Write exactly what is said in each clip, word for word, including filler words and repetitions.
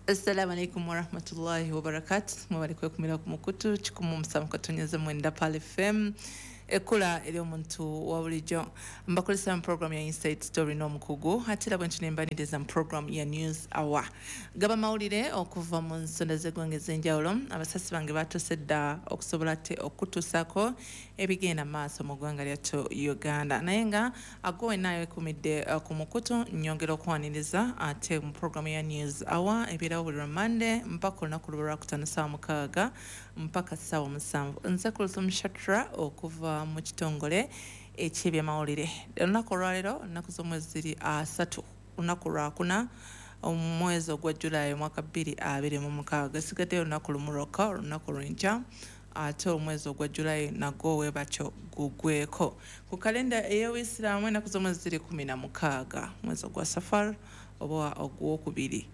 Assalamu alaikum warahmatullahi wabarakatuh. Mwebale kwekumira ku mukutu kikumu musanvu katonyeza mwenda Pearl F M ekula eri omuntu wa bulijjo. Mbakolesa mu program ya Inside Story n'omukugu, ate era bwe ntunembaniriza mu program ya News Hour. Gaba mawulire okuva mu nsonda z'eggwanga ez'enjawulo. Abasasi bange batuuse dda okusobola ate okutuusaako ebigenda maaso mu ggwanga lyattu Uganda. Naye nga ago wenna yeekumidde ku mukutu, nnyongera okwaniriza ate mu program ya News Hour ebeerawo buli lwa Monday mpaka olunaku lw'olwakutaano ssaawa mukaaga mpaka ssaawa musanvu. Nze Kulthum Shatra okuva mu kitongole eky'ebyamawulire. Olunaku olwaleero ennaku z'omwezi ziri asatu, olunaku lwakuna omwezi ogwa Julayi omwaka bbiri abiri mu mukaaga. Sigaddeyo olunaku lumu lwokka, olunaku lw'enkya, ate omwezi ogwa Julayi nagwo webatyo gugweko. Ku kalenda ey'Obuyisiraamu ennaku z'omwezi ziri kumi na mukaaga, mwezi ogwa Safar oba ogwokubiri,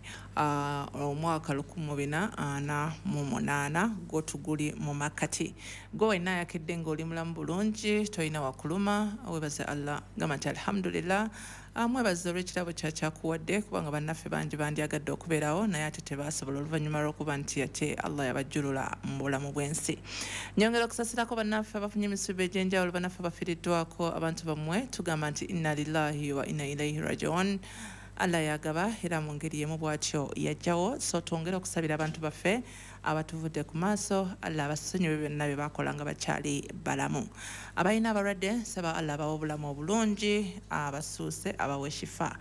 omwaka lukumi bina ana mu munaana gwo tuguli mu makkati. Gwe wenna ayakedde ng'oli mulamu bulungi, tolina wakuluma, weebaze Allah, gamba nti alhamdulillah. Mwebaze olw'ekirabo kyakyakuwadde, kubanga bannaffe bangi bandyagadde okubeerawo naye ate tebasobola oluvannyuma lw'okuba nti ate Allah yabajjulula mu bulamu bw'ensi. Nyongera okusasirako bannaffe abafunye emisubi egy'enjawulo, bannaffe abafiiriddwako abantu bammwe, tugamba nti inna lillahi wa inna ilaihi rajiun. Allah yagaba era mu ngeri y'emu bw'atyo yajjawo. So twongere okusabira abantu baffe abatuvudde ku maaso, Allah abasonyiwe byonna bye bakola nga bakyali balamu. Abalina abalwadde nsaba Allah abawe obulamu obulungi, abasuuse abawe shifa.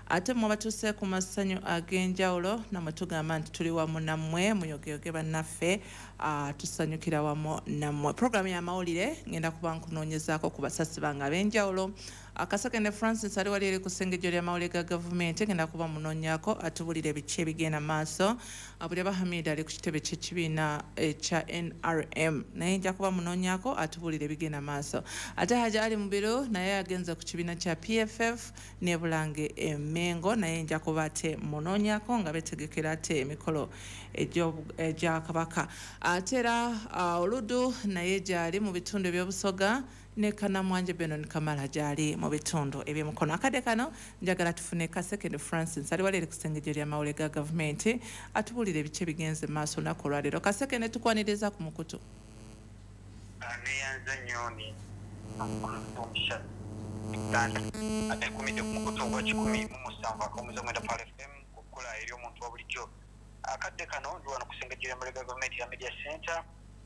Ate mmwe abatuuse ku masanyu ag'enjawulo nammwe tugamba nti tuli wamu nammwe, muyogeyoge bannaffe, tusanyukira wamu nammwe. Puroguramu y'amawulire ngenda kuba nkunoonyezaako ku basasi bange ab'enjawulo. Akasakende Francis ali wali eri ku ssengejjo ly'amawulire ga gavumenti, ngenda kuba munoonyaako atubulire biki ebigenda maaso. Abulya Hamid ali ku kitebe ky'ekibiina ekya N R M, naye nja kuba munoonyaako atubulire ebigenda maaso. Ate Haji Ali Mubiru naye agenze ku kibiina kya P F F ne Bulange Mengo, naye nja kuba ate munoonyaako nga beetegekera ate emikolo egya Kabaka. Ate era Oludu naye gyali mu bitundu eby'Obusoga, ne Kanamwanje Benon Kamala gyali mu bitundu eby'Emukono. Akadde kano njagala tufune Kasekende Francis ali wali eri ku ssengejjo ly'amawulire ga gavumenti atubuulire biki ebigenze maaso olunaku olwaleero. Kasekende, tukwaniriza ku mukutu. Neyanza nnyo ni atekumidde ku mukutu ogwa kikumi mu musanvu akawummuza mwenda Pearl F M okukola eri omuntu wa bulijjo. Akadde kano ndi wano ku ssengejjo ly'amawulire ga gavumenti ya Media Center,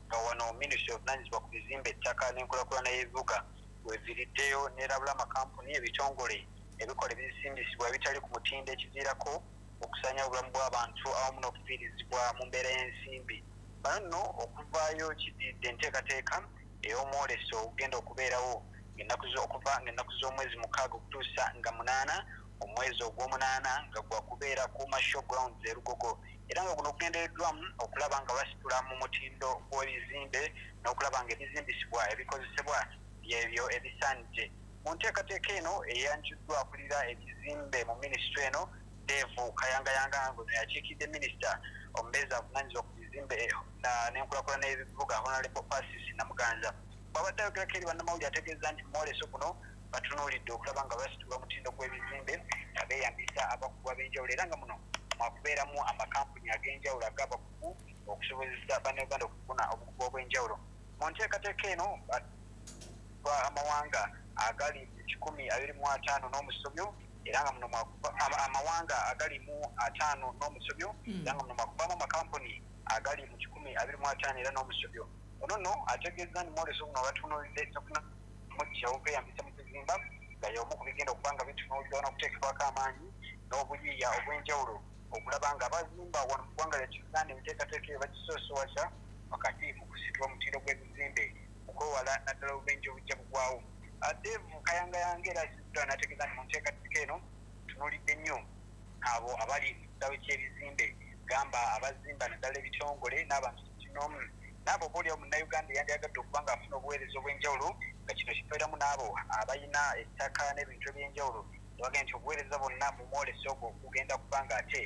nga wano minisitule ovunaanyizibwa ku bizimbe, ettaka n'enkulaakulana y'ebibuga weviiriddeyo n'erabula amakampuni, ebitongole ebikola ebisimbisibwa ebitali ku mutindo ekiviirako okusaanyawo obulamu bw'abantu awamu n'okufiirizibwa mu mbeera y'ensimbi. Bano nno okuvaayo kiddiridde enteekateeka ey'omwoleso ogugenda okubeerawo ng'ennaku okuva ng'ennaku z'omwezi mukaaga okutuusa nga munaana omwezi ogw'omunaana, nga gwakubeera ku Show Grounds e Lugogo, era nga guno gugendereddwamu okulaba nga basitula mu mutindo gw'ebizimbe n'okulaba nga ebizimbisibwa ebikozesebwa byebyo ebisaanidde. Mu nteekateeka eno eyanjuddwa akulira ebizimbe mu minisitule eno Dave Kayangayanga, ngono yakiikidde minisita omubeezi avunaanyizibwa ku bizimbe n'enkulaakulana y'ebibuga Honorable Francis Namuganza. Bw'abadde ayogerako eri bannamawulire ategeeza nti mwoleso guno batunuulidde okulaba nga basitula omutindo gw'ebizimbe nga beeyambisa abakugu ab'enjawulo, era nga muno mwakubeeramu amakampuni ag'enjawulo ag'abakugu okusobozesa bannayuganda okufuna obukugu obw'enjawulo. Mu nteekateeka eno amawanga agali mu kikumi abiri mu ataano n'omusobyo, era nga muno amawanga agali mu ataano n'omusobyo, era nga muno mwakuvaamu amakampuni agali mu kikumi abiri mu ataano era n'omusobyo. Ono nno ategeeza nti mwoleso guno batunuulidde tekinologiya okweyambisa mu kuzimba, nga y'omu ku bigenda okuba nga bitunuulirwa n'okuteekebwako amaanyi n'obuyiiya obw'enjawulo okulaba nga abazimba wano mu ggwanga lya Uganda enteekateeka eyo bagisoosowaza wakati mu kusitula omutindo gw'ebizimbe okwewala naddala obubenje obujja bugwawo. Dave Kayangayanga era asiddwa n'ategeeza nti mu nteekateeka eno tunuulidde nnyo abo abali mu kitabo ky'ebizimbe, gamba abazimba naddala ebitongole n'abantu kinoomu, n'abo oboolyawo munnayuganda eyandyagadde okuba ng'afuna obuweereza obw'enjawulo, nga kino kibeeramu n'abo abalina ettaka n'ebintu eby'enjawulo. Bagamba nti obuweereza bwonna mu mwoleso ogwo kugenda kuba nga ate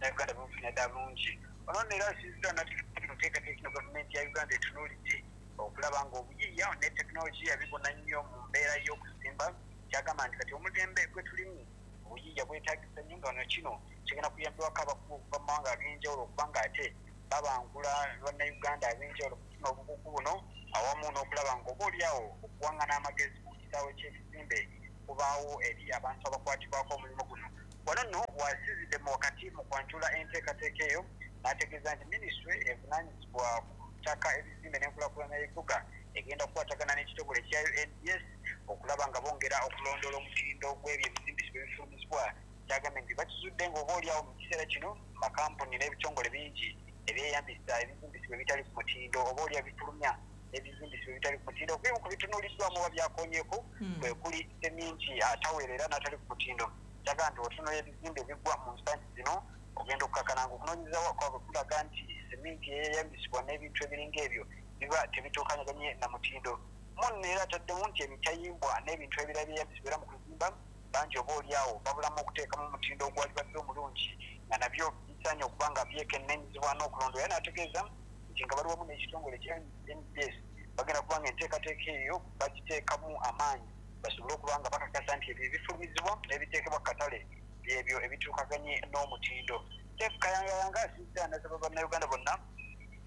Uganda bufuna ddala bulungi. Ono nno era asinziddwa n'ategeeza nti enteekateeka eno gavumenti ya Uganda etunuulidde okulaba ng'obuyiiya ne tekinologiya bibona nnyo mu mbeera y'okuzimba, kyagamba nti kati omulembe gwe tulimu obuyiiya bwetaagisa nnyo, nga wano kino Kigenda kuyambibwako abakugu okuva mu mawanga ag'enjawulo okubanga ate babangula bannayuganda ab'enjawulo okufuna obukugu buno, awamu n'okulaba ng'oba oliawo okuwaŋŋana amagezi ku kisaawe ky'ebizimbe kubaawo eri abantu abakwatibwako omulimu guno. Wano nno wasinzidde mu wakati mu kwanjula enteekateeka eyo n'ategeeza nti minisitule evunaanyizibwa ku ttaka, ebizimbe n'enkulaakulana y'ebibuga egenda kukwatagana n'ekitongole ekya U N D S okulaba nga bongera okulondoola omutindo gw'ebyo ebizimbisibwa ebifulumizibwa. Kyagambye nti bakizudde ng'oba oliawo mu kiseera kino makampuni n'ebitongole bingi ebyeyambisa ebizimbisibwa ebitali ku mutindo oba oli ebifulumya ebizimbisibwa ebitali ku mutindo. Ebimu ku bitunuuliddwamu oba byakonyeeko kwe kuli seminti ataweerera n'atali ku mutindo. Kyagamba nti otunuulira ebizimbe ebigwa mu nsangi zino ogenda okukakkana ng'okunoonyereza kwabwe kulaga nti seminti eyeeyambisibwa n'ebintu ebiringa ebyo biba tebituukanyaganye na mutindo. Munno era ataddemu nti emitayimbwa n'ebintu ebirala ebyeyambisibwa era mu kuzimba bangi oba oliawo babulamu okuteekamu omutindo ogwalibadde omulungi nga nabyo bisaanye okuba nga byekenneenyizibwa n'okulondoola. Era n'ategeeza nti nga bali wamu n'ekitongole ekya N D S bagenda kuba nga enteekateeka eyo bagiteekamu amaanyi basobole okuba nga bakakasa nti ebyo ebifulumizibwa n'ebiteekebwa ku katale byebyo ebituukaganye n'omutindo. Jeff Kayangayanga asinzidde anasaba bannayuganda bonna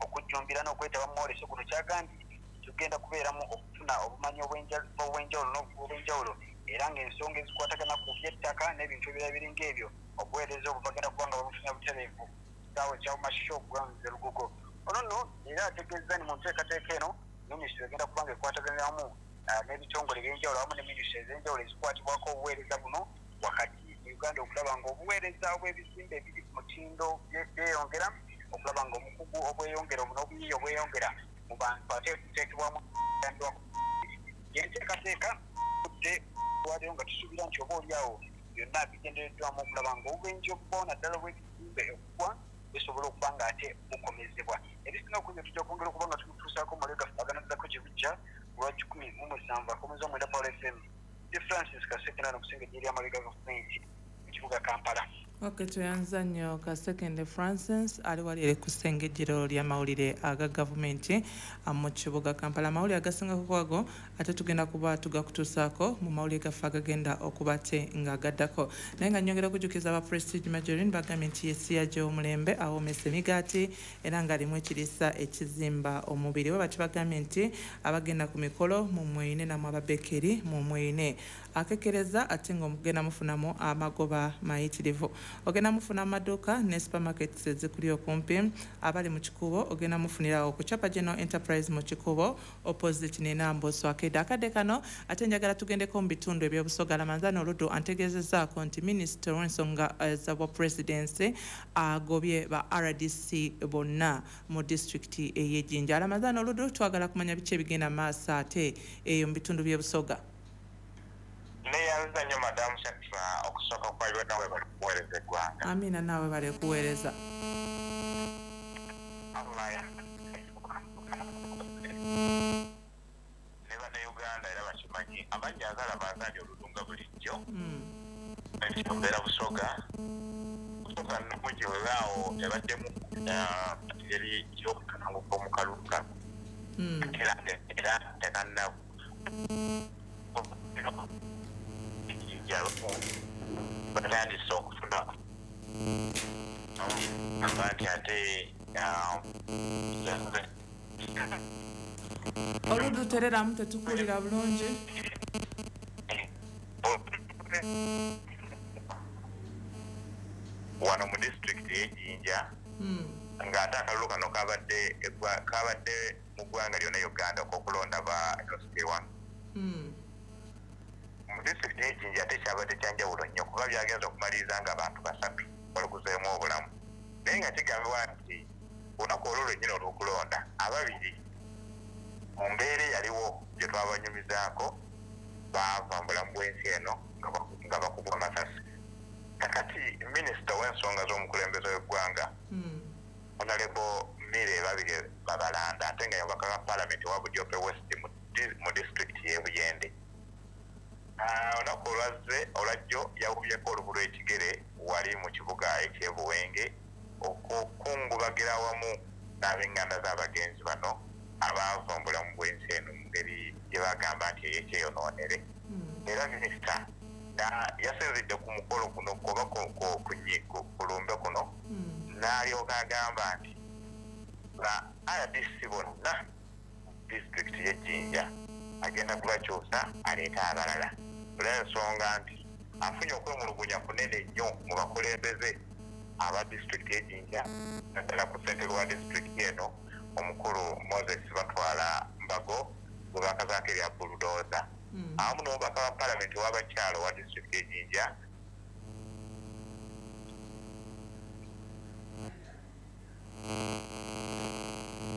okujjumbira n'okwetaba mu mwoleso guno. Kyagambye tugenda kubeeramu okufuna obumanyi obw'enjawulo n'obw'enjawulo era ng'ensonga ezikwatagana ku by'ettaka n'ebintu ebirala biringa ebyo obuweereza obwo bagenda kuba nga babufuna butereevu kisaawe kya Masho Grounds e Lugogo. Ono nno era ategeezza nti mu nteekateeka eno minisitule egenda kuba nga ekwataganiramu n'ebitongole eby'enjawulo awamu ne minisitule ez'enjawulo ezikwatibwako obuweereza buno wakati mu Uganda okulaba ng'obuweereza obw'ebizimbe ebiri ku mutindo byeyongera, okulaba ng'omukugu obweyongera n'obuyiiya obweyongera mu bantu ate buteekebwamu enteekateeka budde waliwo nga tusuubira nti oba oliawo byonna bigendereddwamu okulaba ng'obubenje obugwawo naddala obw'ebizimbe okugwa busobola okuba nga ate bukomezebwa. Ebisinga okubyo tujja kwongera okuba nga tubituusaako mu mawulire gaffe aganaddako gye bujja lwa kikumi mu musanvu akomuza mwenda Paul F M. Francis Kasekende n'okusengejja eri amawulire ga gavumenti mu kibuga Kampala. Ok, tweyanza nnyo Kasekende Francis ali wali eri ku ssengejjero ly'amawulire aga gavumenti mu kibuga Kampala. Amawulire agasingako kwago ate tugenda kuba tugakutuusaako mu mawulire gaffe agagenda okuba te nga gaddako. Naye nga nnyongera okujjukiza aba Prestige Margarine bagambye nti yesiyaje omulembe awoomesa emigaati era ng'alimu ekiriisa ekizimba omubiri. Bwe batyo bagambye nti abagenda ku mikolo mumweyine nammwe ababekeri mumweyine. Akekereza ate ng'omugenda mufunamu amagoba mayitirivu. Ogenda mufuna amaduuka ne supermarkets ezikuli okumpi. Abali mu Kikuubo ogenda mufunirawo ku Chapa General Enterprise mu Kikuubo opposite ne Namboso Akeda. Akadde kano ate njagala tugendeko mu bitundu eby'Obusoga. Lamanzano Oluddu antegeezezzaako nti minisita w'ensonga za presidency agobye ba R D C bonna mu disitulikiti ey'e Jinja. Lamanzano Oluddu, twagala kumanya biki ebigenda maaso ate eyo mu bitundu by'Obusoga. Neyanza nnyo Madamu Shakira okusooka kwa byonna we bali kuweereza eggwanga. Amina, naawe bali kuweereza. Ne bannayuganda era bakimanyi amannya agalaba agali olulunga bulijjo. Mbeera Busoga. Busoga nnungi weewaawo ebaddemu engeri y'okutanguka mu kalulu kano. Era era tekanna batandise okufuna nti ate Oluddu tereramu tetukuwulira bulungi. Wano mu disitulikiti y'e Jinja ng'ate akalulu kano kabadde kabadde mu ggwanga lyonna Uganda ok'okulonda ba L C one. Mu disitulikiti y'e Jinja ate kyabadde kya njawulo nnyo kuba byagenze okumaliriza ng'abantu basatu baluguzeemu obulamu. Naye nga kigambibwa nti olunaku olwo lwennyini olw'okulonda ababiri mu mbeera eyaliwo gye twabanyumizaako baava mu bulamu bw'ensi eno nga bakubwa amasasi. Kakati minisita w'ensonga z'omukulembeze w'eggwanga Honorable Milly Babirye Babalanda ate nga yabaka wa Paalamenti wa Budiope West mu disitulikiti y'e Buyende. Olunaku olwazze olwajjo yawubyeko olubu lw'ekigere wali mu kibuga eky'e Buwenge okukungubagira awamu n'ab'enganda z'abagenzi bano abaava mu bulamu bw'ensi eno mu ngeri gye bagamba nti ey'ekyeyonoonere. Era minisita Na yasinzidde ku mukolo guno oba ku lumbe kuno, n'alyoka agamba nti ba R D C bonna disitulikiti y'e Jinja agenda kubakyusa aleete abalala, olw'ensonga nti afunye okwemulugunya kunene nnyo mu bakulembeze aba disitulikiti y'e Jinja, naddala ku ssentebe wa disitulikiti eno omukulu Moses Batwala Mbago gwe bakazaako erya Bulldozer, awamu n'omubaka wa paalamenti w'abakyala owa disitulikiti y'e Jinja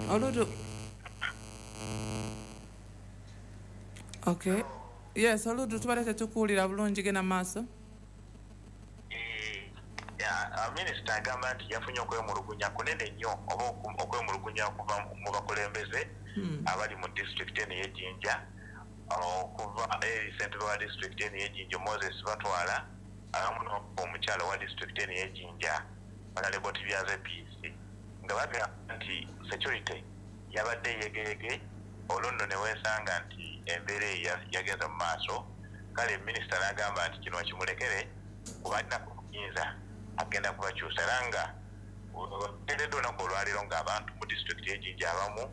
Oludu. Okay. Yes, Oludu, tubadde tetukuwulira bulungi, genda maaso. Minisita agamba nti yafunye okwemulugunya kunene nnyo oba okwemulugunya okuva mu bakulembeze abali mu disitulikiti eno ey'e Jinja, okuva eri ssentebe wa disitulikiti eno ey'e Jinja Moses Batwala awamu n'omukyala wa disitulikiti eno ey'e Jinja Honorable Tibyaze Peace, nga bagamba nti security yabadde yegeyege, olwo nno ne weesanga nti embeera eyo yagenze mu maaso. Kale minisita n'agamba nti kino kimulekere kuba alina kuyinza agenda kubakyusa, era nga teredde olunaku olwaleero ng'abantu mu disitulikiti y'e Jinja abamu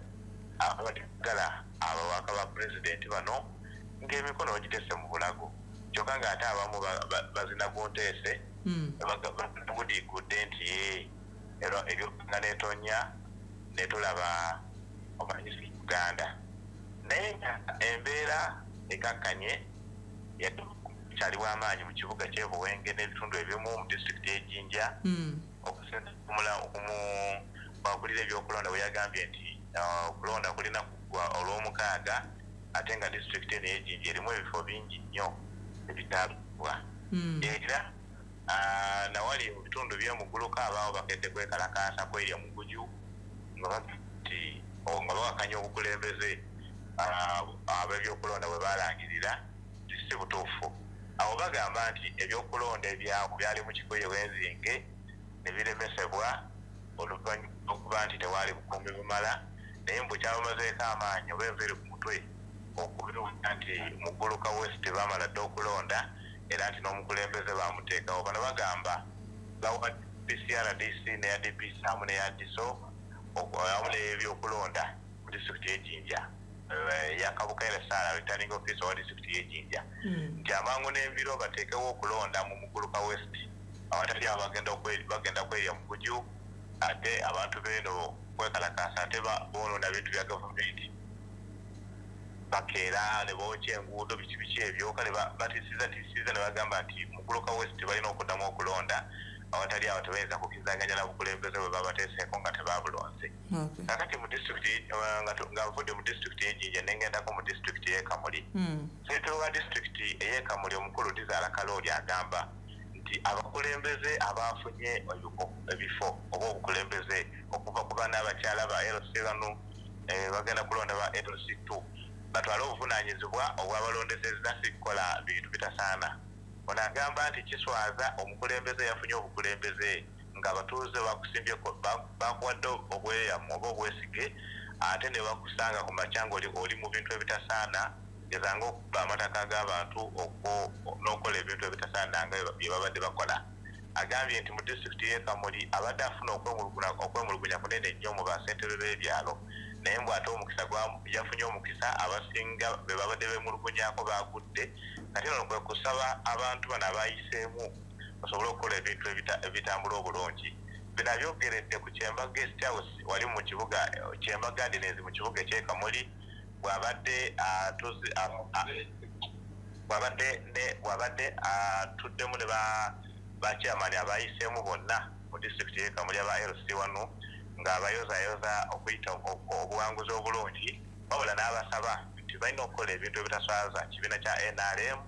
abagala ababaka ba pulezidenti bano ng'emikono bagiteese mu bulago, kyokka ng'ate abamu bazina ku nteese bagudiigudde nti ebyokanga n'etonya netulaba omanyisi Uganda. Naye nga embeera ekakkanye, kyaliwo amaanyi mu kibuga ky'e Buwenge n'ebitundu ebimu mu disitulikiti y'e Jinja, okusinziira ebyokulonda bwe yagambye nti okulonda kulina kuggwa olw'omukaaga, ate nga disitulikiti eno ey'e Jinja erimu ebifo bingi nnyo ebitaalibwa. Era nawali mu bitundu by'emuguluka abaawo bakedde kwekalakaasa kwerya muguju nga bati nga bawakanya obukulembeze ab'ebyokulonda bwe balangirira si butuufu. Awo bagamba nti ebyokulonda ebyako byali mu kigoye w'enzinge ne biremesebwa oluvannyuma okuba nti tewaali bukuumi bumala, naye mbu kyabamazeeko amaanyi oba enviiri ku mutwe okubiwulira nti Muguluka West baamala dda okulonda, era nti n'omukulembeze baamuteekawo. Bano bagamba bawa P C R D C n'eya D P C awamu n'eya D S O awamu n'ebyokulonda mu disitulikiti y'e Jinja yakabukaire Sara returning officer wa disitulikiti y'e Jinja nti amangu n'embiro bateekewo okulonda mu Muguluka West awatali abo bagenda kwerya muguju, ate abantu beeno kwekalakaasa ate boonoona bintu bya gavumenti, bakeera ne bookya enguudo biki biki ebyo. Kale batiisiza tiisiza ne bagamba nti Muguluka West balina okuddamu okulonda awatali awo tebayinza kukkizaganya na bukulembeze bwe babateeseeko nga tebaabulonze. Kakati mu disitulikiti nga nvudde mu disitulikiti y'e Jinja ne ngendako mu disitulikiti y'e Kamuli, ssentebe wa disitulikiti ey'e Kamuli omukulu Dizaala Kalooli agamba nti abakulembeze abaafunye ebifo oba obukulembeze okuva ku baana abakyala ba L C one bagenda kulonda ba L C two batwale obuvunaanyizibwa obwabalondesezza si kukola bintu bitasaana. Ono agamba nti kiswaza omukulembeze yafunye obukulembeze ng'abatuuze bakusimbye bakuwadde obweyamu oba obwesige, ate ne bakusanga ku makya ng'oli oli mu bintu ebitasaana, gezanga okuba amataka g'abantu n'okukola ebintu ebitasaana nga bye babadde bakola. Agambye nti mu disitulikiti y'e Kamuli abadde afuna okwemulugunya kunene nnyo mu bassentebe b'ebyalo, naye mbu ate omukisa yafunye omukisa abasinga be babadde beemulugunyaako baagudde. Kati ono kwe kusaba abantu bano abayiseemu basobole okukola ebintu ebitambula obulungi. Bino abyogeredde ku Kyemba Guest House wali mu kibuga Kyemba Gardens mu kibuga eky'e Kamuli, bw'abadde bw'abadde bw'abadde atuddemu ne ba chairman abayiseemu bonna mu disitulikiti y'e Kamuli aba L C one ng'abayozayoza okuyita obuwanguzi obulungi, wabula n'abasaba nti balina okukola ebintu ebitaswaza kibiina kya N R M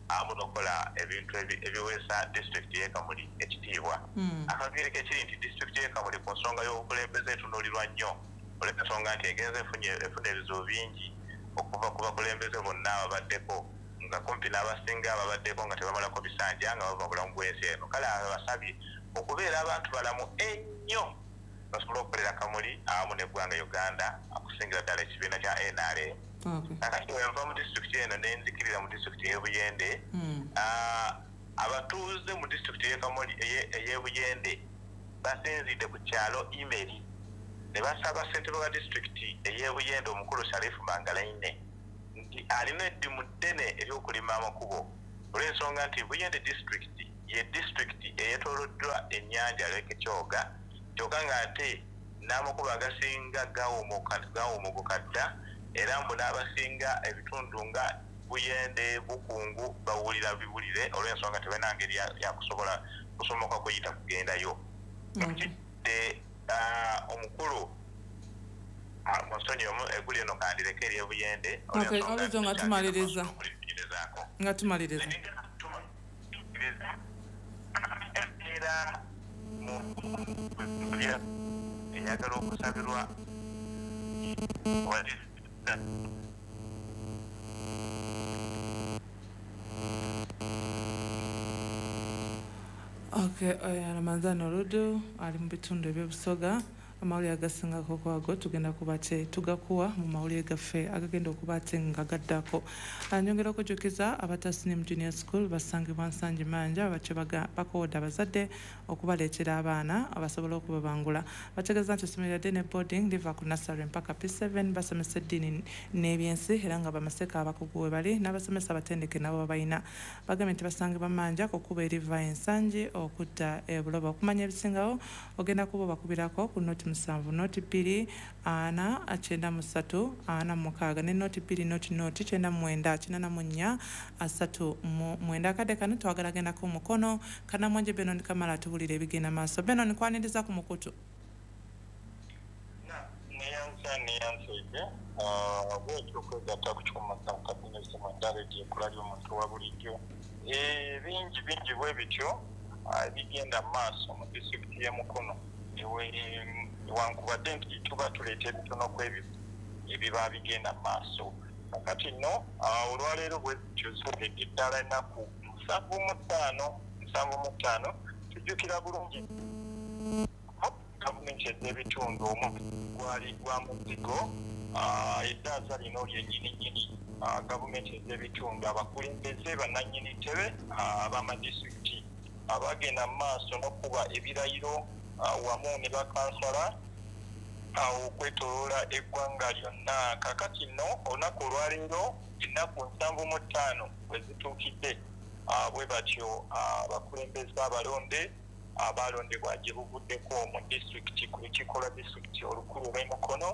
awamu n'okukola ebintu ebiweesa disitulikiti y'e Kamuli ekitiibwa. Akaviiri ke kiri nti disitulikiti y'e Kamuli ku nsonga y'obukulembeze etunuulirwa nnyo olw'ensonga nti egenze efuna ebizibu bingi okuva ku bakulembeze bonna ababaddeko, nga kumpi n'abasinga ababaddeko nga tebamalako bisanja nga bava bulamu bw'ensi eno. Kale abasabye okubeera abantu balamu ennyo basobole okukolera Kamuli awamu n'eggwanga Uganda okusingira ddala ekibiina kya N R M. Kakati wenva mu disitulikiti eno nenzikirira mu disitulikiti y'Ebuyende, abatuuze mu disitulikiti ey'Ebuyende basinzidde ku kyalo Imeri ne basaba ssentebe wa disitulikiti ey'Ebuyende omukulu Sharifu Mangalaine nti alina eddimu ddene ery'okulima amakubo olw'ensonga nti Buyende disitulikiti ye disitulikiti eyeetooloddwa ennyanja Lake Kyoga, kyokka ng'ate n'amakubo agasinga gawumuguka dda, era mbu n'abasinga ebitundu nga Buyende, Bukungu bawulira biwulire olw'ensonga tebalina ngeri ya kusobola kusomoka kuyita kugendayo. Kidde omukulu musonyi omu eggulu eno kandireke ery'Ebuyende olw'ensonga nga tumaliriza nga tumaliriza era mu eyagala okusabirwa. Okay, Ramadhan Oludu ali mu bitundu eby'Obusoga. Amawulire agasingako kwago tugenda kuba tugakuwa mu mawulire gaffe agagenda okuba ate nga gaddako. Nyongera okujjukiza abatasinimu Junior School basangibwa Nsangi Manja, abakyo bakowodde abazadde okubaleetera abaana abasobola okubabangula. Bategeeza nti essomero lya ne boarding liva ku nursery mpaka P seven, basomesa eddiini n'ebyensi era nga bamaseka abakugu we bali n'abasomesa abatendeke nabo babalina. Bagambye nti basangibwa Manja ku kkubo eriva e Nsangi okudda e Buloba. Okumanya ebisingawo ogenda kuba obakubirako ku noti musanvu noti bbiri ana kyenda mu ssatu ana mukaaga ne noti bbiri noti noti kyenda mu mwenda kinaana mu nnya asatu mu mwenda. Akadde kano twagala gendako mukono Kanamwanje Benon Kamala atubuulira ebigenda maaso. Benon, nkwaniriza ku mukutu. Neyanza neyanzeege bwetyo okwegatta ku kikumi musanvu katonnyeze mwenda leediyo ekkula ly'omuntu wa bulijjo. Bingi bingi bwe bityo ebigenda mu maaso mu disitulikiti y'e Mukono, newankubadde nti tuba tuleeta ebitono ku ebyo ebiba bigenda mu maaso. Kakati nno olwaleero bwe zityo ziwedde ddala ennaku nsanvu mu ttaano nsanvu mu ttaano. Tujjukira bulungi gavumenti ez'ebitundu omu gwali gwa muzigo, eddaaza lino lyennyini nnyini gavumenti ez'ebitundu abakulembeze bannannyini ntebe ab'amadisitulikiti abagenda mu maaso n'okuba ebirayiro wamu ne bakansala okwetooloola eggwanga lyonna. Kakati nno olunaku olwaleero ennaku nsanvu mu ttaano bwe zituukidde, bwe batyo abakulembeze abalonde abalondebwa gye buvuddeko mu disitulikiti ku lukiiko lwa disitulikiti olukulu olw'e Mukono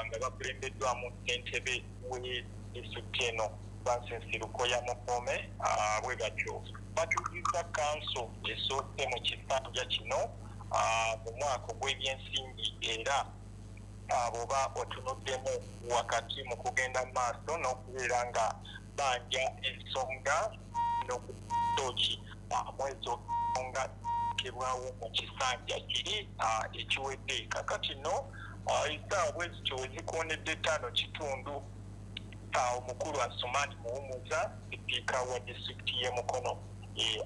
nga bakulembeddwamu ssentebe we disitulikiti eno Francis Lukoya Mukome, bwe batyo batuuziza kanso esoose mu kisanja kino mu mwaka ogw'ebyensimbi, era bw'oba otunuddemu wakati mu kugenda mu maaso n'okubeera nga banja ensonga n'okutooki mwezo ensonga kebwawo mu kisanja kiri ekiwedde. Kakati nno essaawa bwe zityo we zikoonedde ttaano kitundu, omukulu Asuman Muhumuza sipiika wa disitulikiti y'e Mukono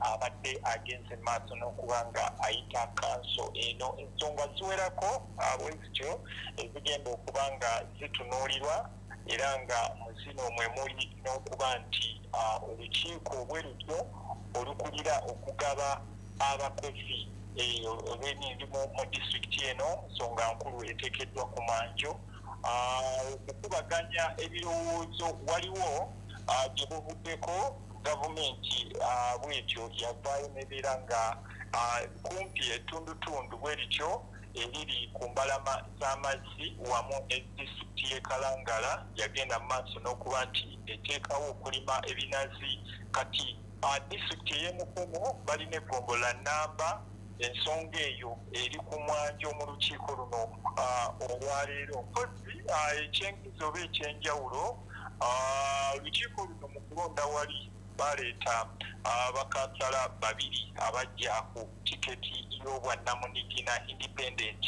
abadde agenze maaso n'okuba nga ayita kanso eno. Ensonga ziwerako bwe zityo ezigenda okuba nga zitunuulirwa, era nga mu zino mwe muli n'okuba nti olukiiko bwe lutyo olukulira okugaba abakozi olw'emirimu mu disitulikiti eno, nsonga nkulu eteekeddwa ku mwanjo. Okukubaganya ebirowoozo waliwo gye buvuddeko gavumenti bwetyo yavaayo n'ebeera nga kumpi ettundutundu bwe lityo eriri ku mbalama z'amazzi wamu ne disitulikiti y'e Kalangala yagenda mu maaso n'okuba nti eteekawo okulima ebinazi. Kati disitulikiti ey'e Mukono balina eggombolola nnamba, ensonga eyo eri ku mwanjo mu lukiiko luno olwaleero. Mpozzi ekyenkizo oba ekyenjawulo, olukiiko luno mu kulonda wali baleeta abakansala babiri abajja ku tiketi y'obwannamunigina independent,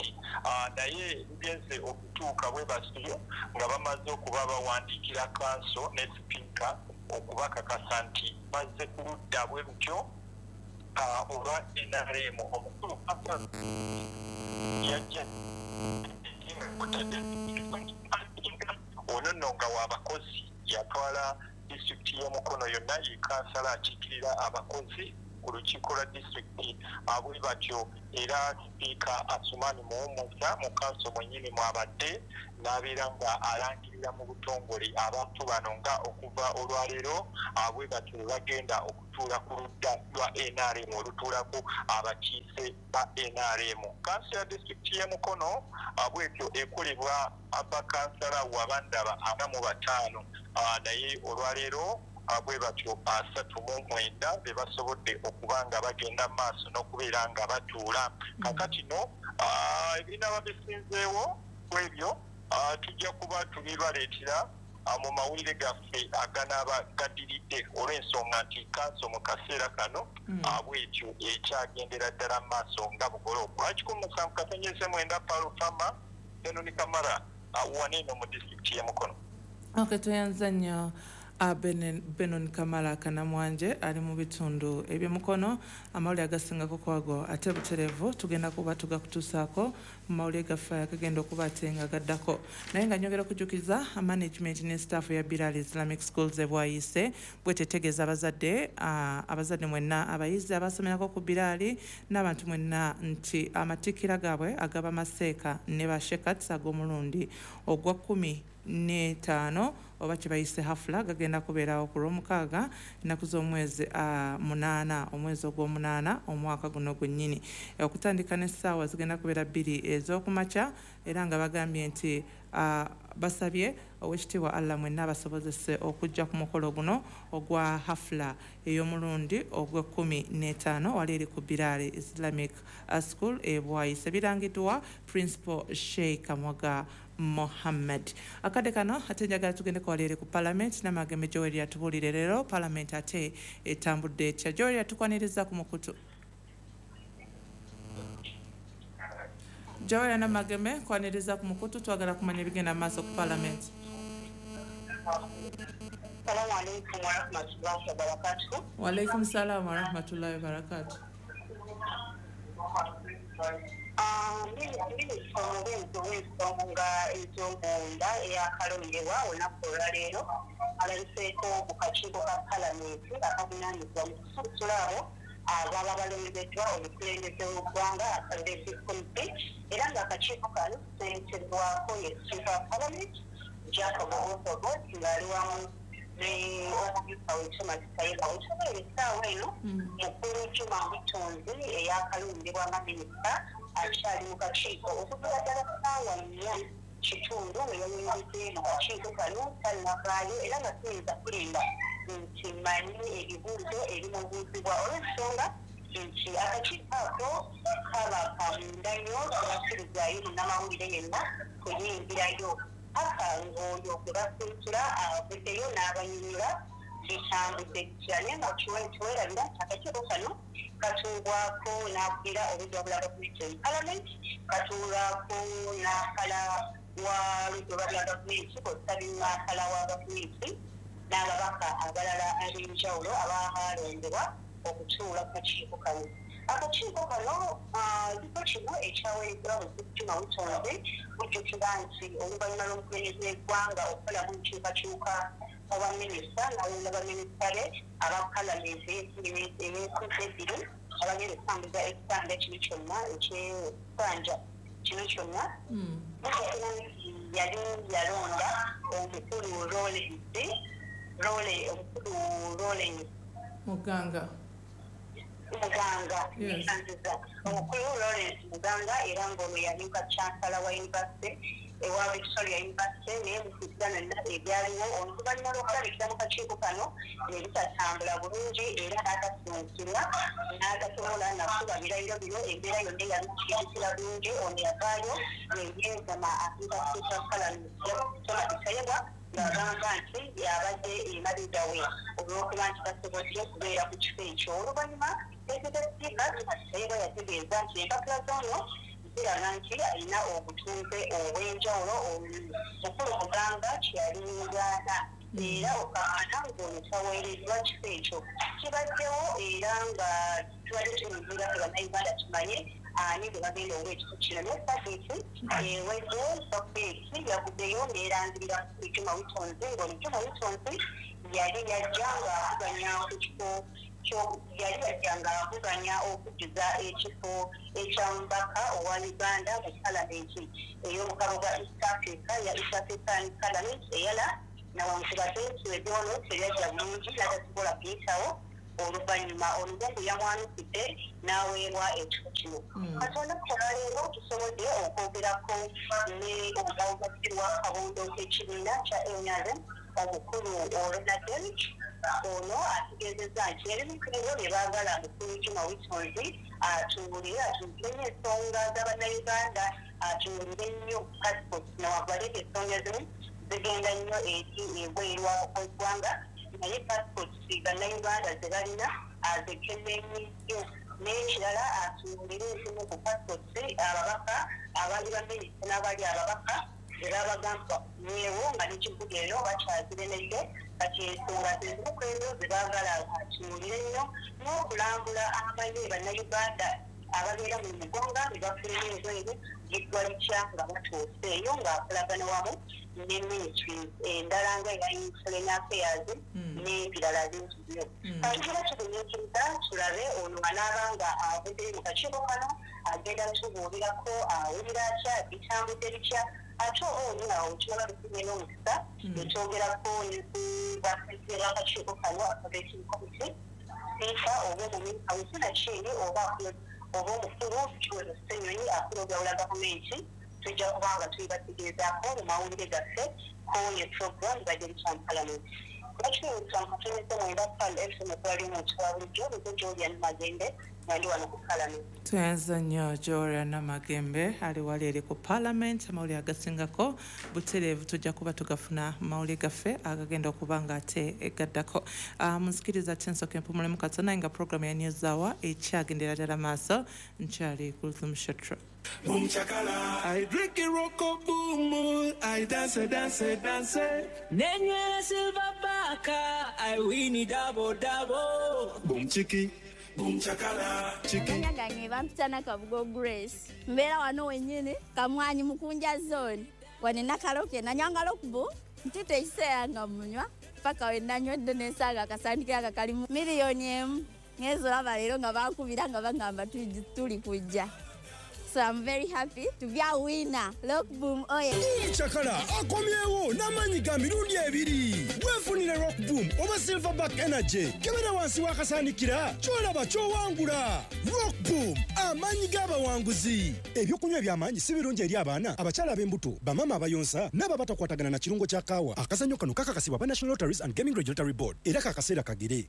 naye lugenze okutuuka bwe batyo nga bamaze okuba bawandiikira kanso ne sipiika okubakakasa nti bazze ku ludda bwe lutyo olwa N R M. Omukulu yajja ono nno nga w'abakozi yatwala disitulikiti y'Omukono yonna, ye kansala akiikirira abakozi ku lukiiko lwa disitulikiti bwe batyo. Era sipiika Asuman Muhumuza mu kanso mwennyini mwabadde n'abeera nga alangirira mu butongole abantu bano nga okuva olwaleero bwe batyo bwe bagenda okutuula ku ludda lwa N R M olutuulako abakiise ba N R M. Kanso ya disitulikiti y'e Mukono bwetyo ekolebwa abakansala wabandaba ana mu bataano, naye olwaleero bwe batyo asatu mu mwenda be basobodde okuba nga bagenda mu maaso n'okubeera nga batuula. Kaakati no ebinaaba bisinzeewo ku ebyo tujja kuba tubibaleetera mu mawulire gaffe aganaaba gaddiridde, olw'ensonga nti kanso mu kaseera kano bwetyo ekyagendera ddala mu maaso nga bugolooba. Kikumi musanvu katonyeze mwenda Palufama Benoni Kamara waneeno mu disitulikiti y'e Mukono. Okay, tweyanza nnyo Benon Kamara Kanamwanje ali mu bitundu eby'Mukono. Amawulire agasingako kwago ate butereevu tugenda kuba tugakutuusaako mu mawulire gaffe agagenda okuba ate nga gaddako. Naye nga nyongera okujjukiza management ne staff ya Bilal Islamic Schools e Bwayiise bwetetegeeza abazadde abazadde mwenna abayizi abasomerako ku Bilal n'abantu mwenna nti amatikkira gaabwe agaba maseeka ne bashekats ag'omulundi ogwa kkumi n'etaano oba kye bayise hafula gagenda kubeerawo ku lwomukaaga ennaku z'omwezi munaana omwezi ogw'omunaana omwaka guno gwennyini, okutandika n'essaawa zigenda kubeera bbiri ez'okumakya. Era nga bagambye nti basabye owekitiibwa Allah mwenna abasobozese okujja ku mukolo guno ogwa hafula ey'omulundi ogw'ekkumi n'etaano wali eri ku Bilal Islamic School e Bwayiise. Birangiddwa Principal Sheikh Mwaga Mohammed. Akadde kano ate njagala tugendeko wali eri ku Parliament n'Amagembe Joel yatubuulire leero Parliament ate etambudde etya. Joel yatukwaniriza ku mukutu. Joel Namagembe kwaniriza ku mukutu, twagala kumanya ebigenda maaso ku Parliament. Assalamu alaikum warahmatullahi wabarakatuh. Wa alaikum salam warahmatullahi wabarakatuh. Minisita omubeezi ow'ensonga ez'omunda eyakalondebwa olunaku olwaleero alabiseeko mu kakiiko ka Palamenti akavunaanyizibwa mu kusunsula abo ababa balondeddwa omukulembeze w'eggwanga Executive Committee, era ng'akakiiko kano ssentebwako ye Sipiika wa Palamenti Jacob Oboth ng'ali wamu ne omumyuka we Thomas Tayebwa. Otubeera essaawa eno mukulu Juma Mutonzi eyakalondebwa nga minisita akyali mu kakiiko okuviira ddala ssaawa nnya kitundu we yayingidde mu kakiiko kano tannavaayo, era nga tuyinza kulimba nti mmanyi ebibuuzo ebimubuuzibwa olw'ensonga nti akakiiko ako kaba ka munda nnyo, tebakkirizayo munnamawulire yenna kuyingirayo paka ng'oyo gwe basunsula avuddeyo n'abanyonyola bitambudde bitya. Naye nga kiwerabira nti akakiiko kano katuulwako n'akulira oludda lwa gavumenti mu Palamenti, katuulwako n'akala wa ludda lwa gavumenti kw'ossa n'akala wa gavumenti n'ababaka abalala ab'enjawulo abalondebwa okutuula ku kakiiko kano. Akakiiko kano kifo kino ekyaweereddwa Juma Mutonzi bujjukira nti oluvannyuma lw'omukulembeze w'eggwanga okukolamu enkyukakyuka oba minisita n'alonda baminisita be aba Palamenti ey'enkuzi ebbiri abagenda okutambuza ekisanja kino kyonna eky'ekisanja kino kyonna. Yali yalonda omukulu Lawrence Lawrence omukulu Lawrence Muganga Muganga omukulu Lawrence Muganga, era ng'ono yamyuka Chancellor wa University ewa Victoria University, naye mu nonna ebyaliwo oluvannyuma lw'okulabikira mu kakiiko kano ne bitatambula bulungi era n'agasunsulwa n'agasobola nakuba birayiro bino embeera yonna eyabikira bulungi. Ono yavaayo ne yeegama atuuka kutuuka Palamenti Thomas Tayebwa ng'agamba nti yabadde emabega we olw'okuba nti tasobodde okubeera ku kifo ekyo. Oluvannyuma Pulezidenti Sipiika Thomas Tayebwa yategeeza nti empapula z'ono ziraga nti alina obutuuze obw'enjawulo omukulu Muganga kye yali yeegaana era okaana ng'ono taweereddwa kifo ekyo. Kibaddewo era nga tubadde tulindirira ffe Bannayuganda tumanye Ani gwe bagenda owa ekifo kino. Naye sabiiti ewedde gavumenti yavuddeyo n'erangirira Juma Witonzi, ng'ono Juma Witonzi yali yajja ng'avuganya ku kifo yali yajja ng'avuganya okujjuza ekifo ekya mubaka owa Uganda mu palamenti ey'obukabo bwa East Africa ya East African Parliament eyala, nawankubadde nti ebyono tebyajja bulungi n'atasobola kuyitawo. Oluvannyuma Oluganda yamwanukidde n'aweebwa ekifo kino. Kati olunaku olwaleero tusobodde okwogerako ne omugawugazzi wa kabondo k'ekibiina kya N R M omukulu Ronald Derrick. Ono ategeezezza nti ebimu ku ebyo bye baagala mukulu Juma Witonzi atuwulire, atuwulire nnyo ensonga z'Abannayuganda, atuwulire nnyo passport, newankubadde ensonga ezimu zigenda nnyo eri ebweru w'eggwanga, naye passport bannayuganda ze balina azekenneenye nnyo. N'ekirala atuwulire ezimu ku passport ababaka abali baminisita n'abali ababaka ze babagamba nyewo nga n'ekibuga eno bakyaziremedde. Kati ensonga zezimu ku ezo ze baagala atuwulire nnyo, n'okulambula amanye bannayuganda ababeera mu mugonga ne bafuluma ebweru giggwa litya nga batuuse eyo, ng'akolagana wamu ne ministries endala nga eya Foreign Affairs n'ebirala bingi nnyo. Kati tuba tugumiikiriza tulabe ono anaaba nga avuddeyo mu kakiiko kano agenda tubuulirako awulira atya, bitambudde bitya, ate oba oli awo tulaba tufunye n'omukisa netwogerako ne bapresident b'akakiiko kano aka vetting committee, sipiika oba omumyuka we sinakindi oba oba omukulu Kiweewa Ssenyonyi akulogawula gavumenti. Tujja kuba nga tubibategeezaako mu mawulire gaffe ko ye program badde bitya mu palamenti. Bakiwusa nkatonese mwenda Pearl F M okwali omuntu wa bulijjo nze Julian Magembe nga ndi wano ku palamenti. Tweyanza nnyo Joria Namagembe ali wali eri ku parliament. Amawulire agasingako butereevu tujja kuba tugafuna mu mawulire gaffe agagenda okuba nga ate gaddako. Munzikiriza ate nsooke mpumulemu katono, naye nga program ya News Hour ekyagendera ddala maaso. Nkyali Kulthum Shatro. Boom chakala, I drink it rocko boom, I dance dance dance. Nenywera silver baka, I win it double double. Boom chiki, boom chakala, chiki. Amanya gange bampita Nakabugo Grace. Mbeera wano wennyini Kamwanyi Mukunja zone. Wano nakaloke nanywanga lokubu ntute ekiseera nga munywa paka we nanywedde nensanga akasandikira aka kalimu miliyoni emu. Ngenze olaba leero nga bankubira nga bangamba tuli kujja. So I'm very happy to be a winner. Look, boom, oh yeah. Boom Chakala akomyewo n'amaanyi ga mirundi ebiri. Weefunire Rock Boom oba Silverback Energy. Kebera wansi w'akasaanikira ky'olaba ky'owangula. Rock Boom, amaanyi g'abawanguzi. Ebyokunywa eby'amaanyi si birungi eri abaana, abakyala ab'embuto, bamaama abayonsa n'abo abatakwatagana na kirungo kya kaawa. Akazannyo kano kakakasibwa aba National Lotteries and Gaming Regulatory Board era kakaseera kagere.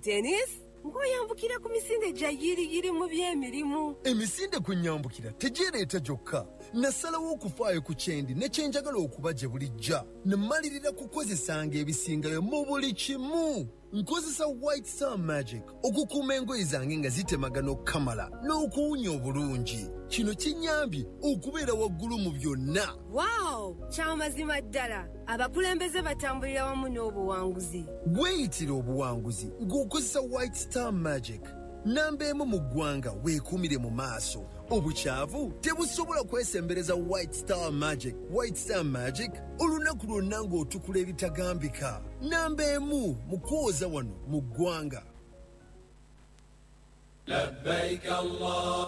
Dennis, ng'oyambukira ku misinde gya yiriyiri mu by'emirimu. Emisinde kunyambukira tegyereeta gyokka. Nasalawo okufaayo ku kyendi ne kye njagala okuba gye bulijja. Ne mmalirira kukozesanga ebisingayo mu buli kimu. Nkozesa White Star Magic okukuuma engoye zange nga zitemagana okukamala n'okuwunya obulungi. Kino kinnyambye okubeera waggulu mu byonna. Wow! Kyamazima ddala. Abakulembeze batambulira wamu n'obuwanguzi. Weeyitira obuwanguzi ng'okozesa White Star Magic. Namba emu mu ggwanga weekuumire mu maaso. Obukyavu tebusobola kwesembereza White Star Magic. White Star Magic olunaku lwonna ng'otukula ebitagambika. Namba emu mu kwoza wano mu ggwanga.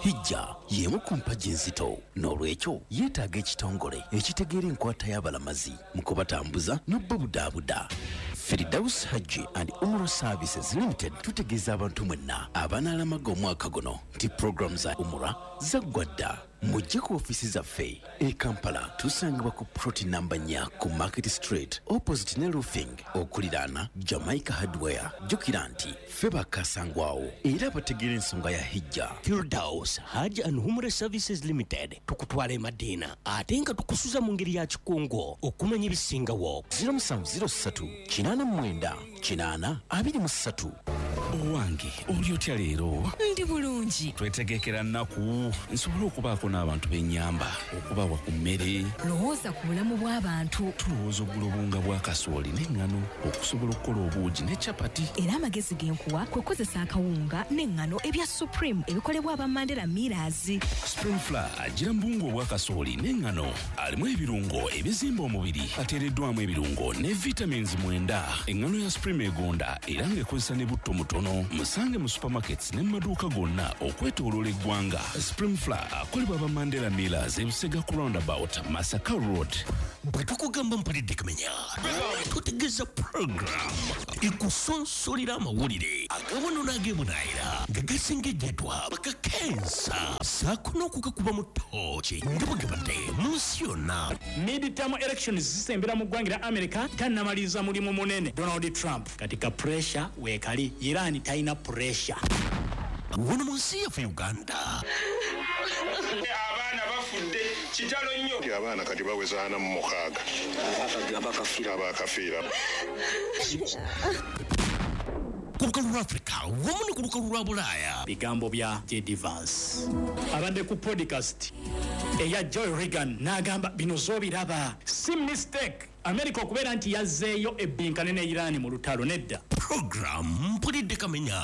Hijja y'emu ku mpagi enzito, n'olwekyo yeetaaga ekitongole ekitegeera enkwata y'abalamazi mu kubatambuza n'obubudaabuda. Firdaus Hajji and Umrah Services Limited tutegeeza abantu mwenna abanaalamaga omwaka guno nti puroguramu za Umrah zaggwa dda. Mujje ku ofiisi zaffe e Kampala, tusangibwa ku plot namba nnya ku Market Street opposite ne Roofing okuliraana Jamaica Hardware. Jjukira nti ffe bakasangwawo era bategeera ensonga ya Hijja. Firdaus Hajj and Umrah Services Limited tukutwala e Madina ate nga tukusuza mu ngeri ya kikungo okumanya ebisingawo. zero musanvu zero ssatu kinaana mu mwenda kinaana abiri mu ssatu. Owange oli otya leero? Ndi bulungi. Twetegekera nnaku nsobole okubaako n'abantu b'ennyamba okubawa ku mmere. Lowooza ku bulamu bw'abantu. Tulowooza ogula obuwunga bwa kasooli n'eŋŋano okusobola okukola obuugi ne capati. Era amagezi ge nkuwa kwe kukozesa akawunga n'eŋŋano ebya Supreme ebikolebwa aba Mandela Millers. Supreme Flour agira mu buwunga obwa kasooli n'eŋŋano alimu ebirungo ebizimba omubiri, ateereddwamu ebirungo ne vitamins mwenda. Eŋŋano ya Supreme egonda era ng'ekozesa ne butto mutono. Musange mu supermarkets ne mu maduuka gonna okwetooloola eggwanga. Supreme Flour akolebwa aba Mandela Millers e Busega ku roundabout Masaka Road. Bwe tukugamba mpulidde kumenya, tutegeeza program ekusonsolera amawulire agabono n'agebunaayira nga gasengejjeddwa bakakensa ssaako n'okugakuba mu ttooki nga bwe gabadde mu nsi yonna. Midterm elections zisembera mu ggwanga lya America, tannamaliriza mulimu munene Donald Trump. Katika pressure weekali, Iran talina pressure. Wano mu nsi yaffe Uganda abaana bafudde kitalo nnyo. Abaana kati baweza ana mu mukaaga abakafiira ku lukalu lwa Afrika wamu ne ku lukalu lwa Bulaaya. Bigambo bya J D Vance abadde ku podcast eya Joe Rogan n'agamba bino z'obiraba si mistake America okubeera nti yazzeeyo ebbinkane ne Iran mu lutalo nedda. Program mpulidde kamenya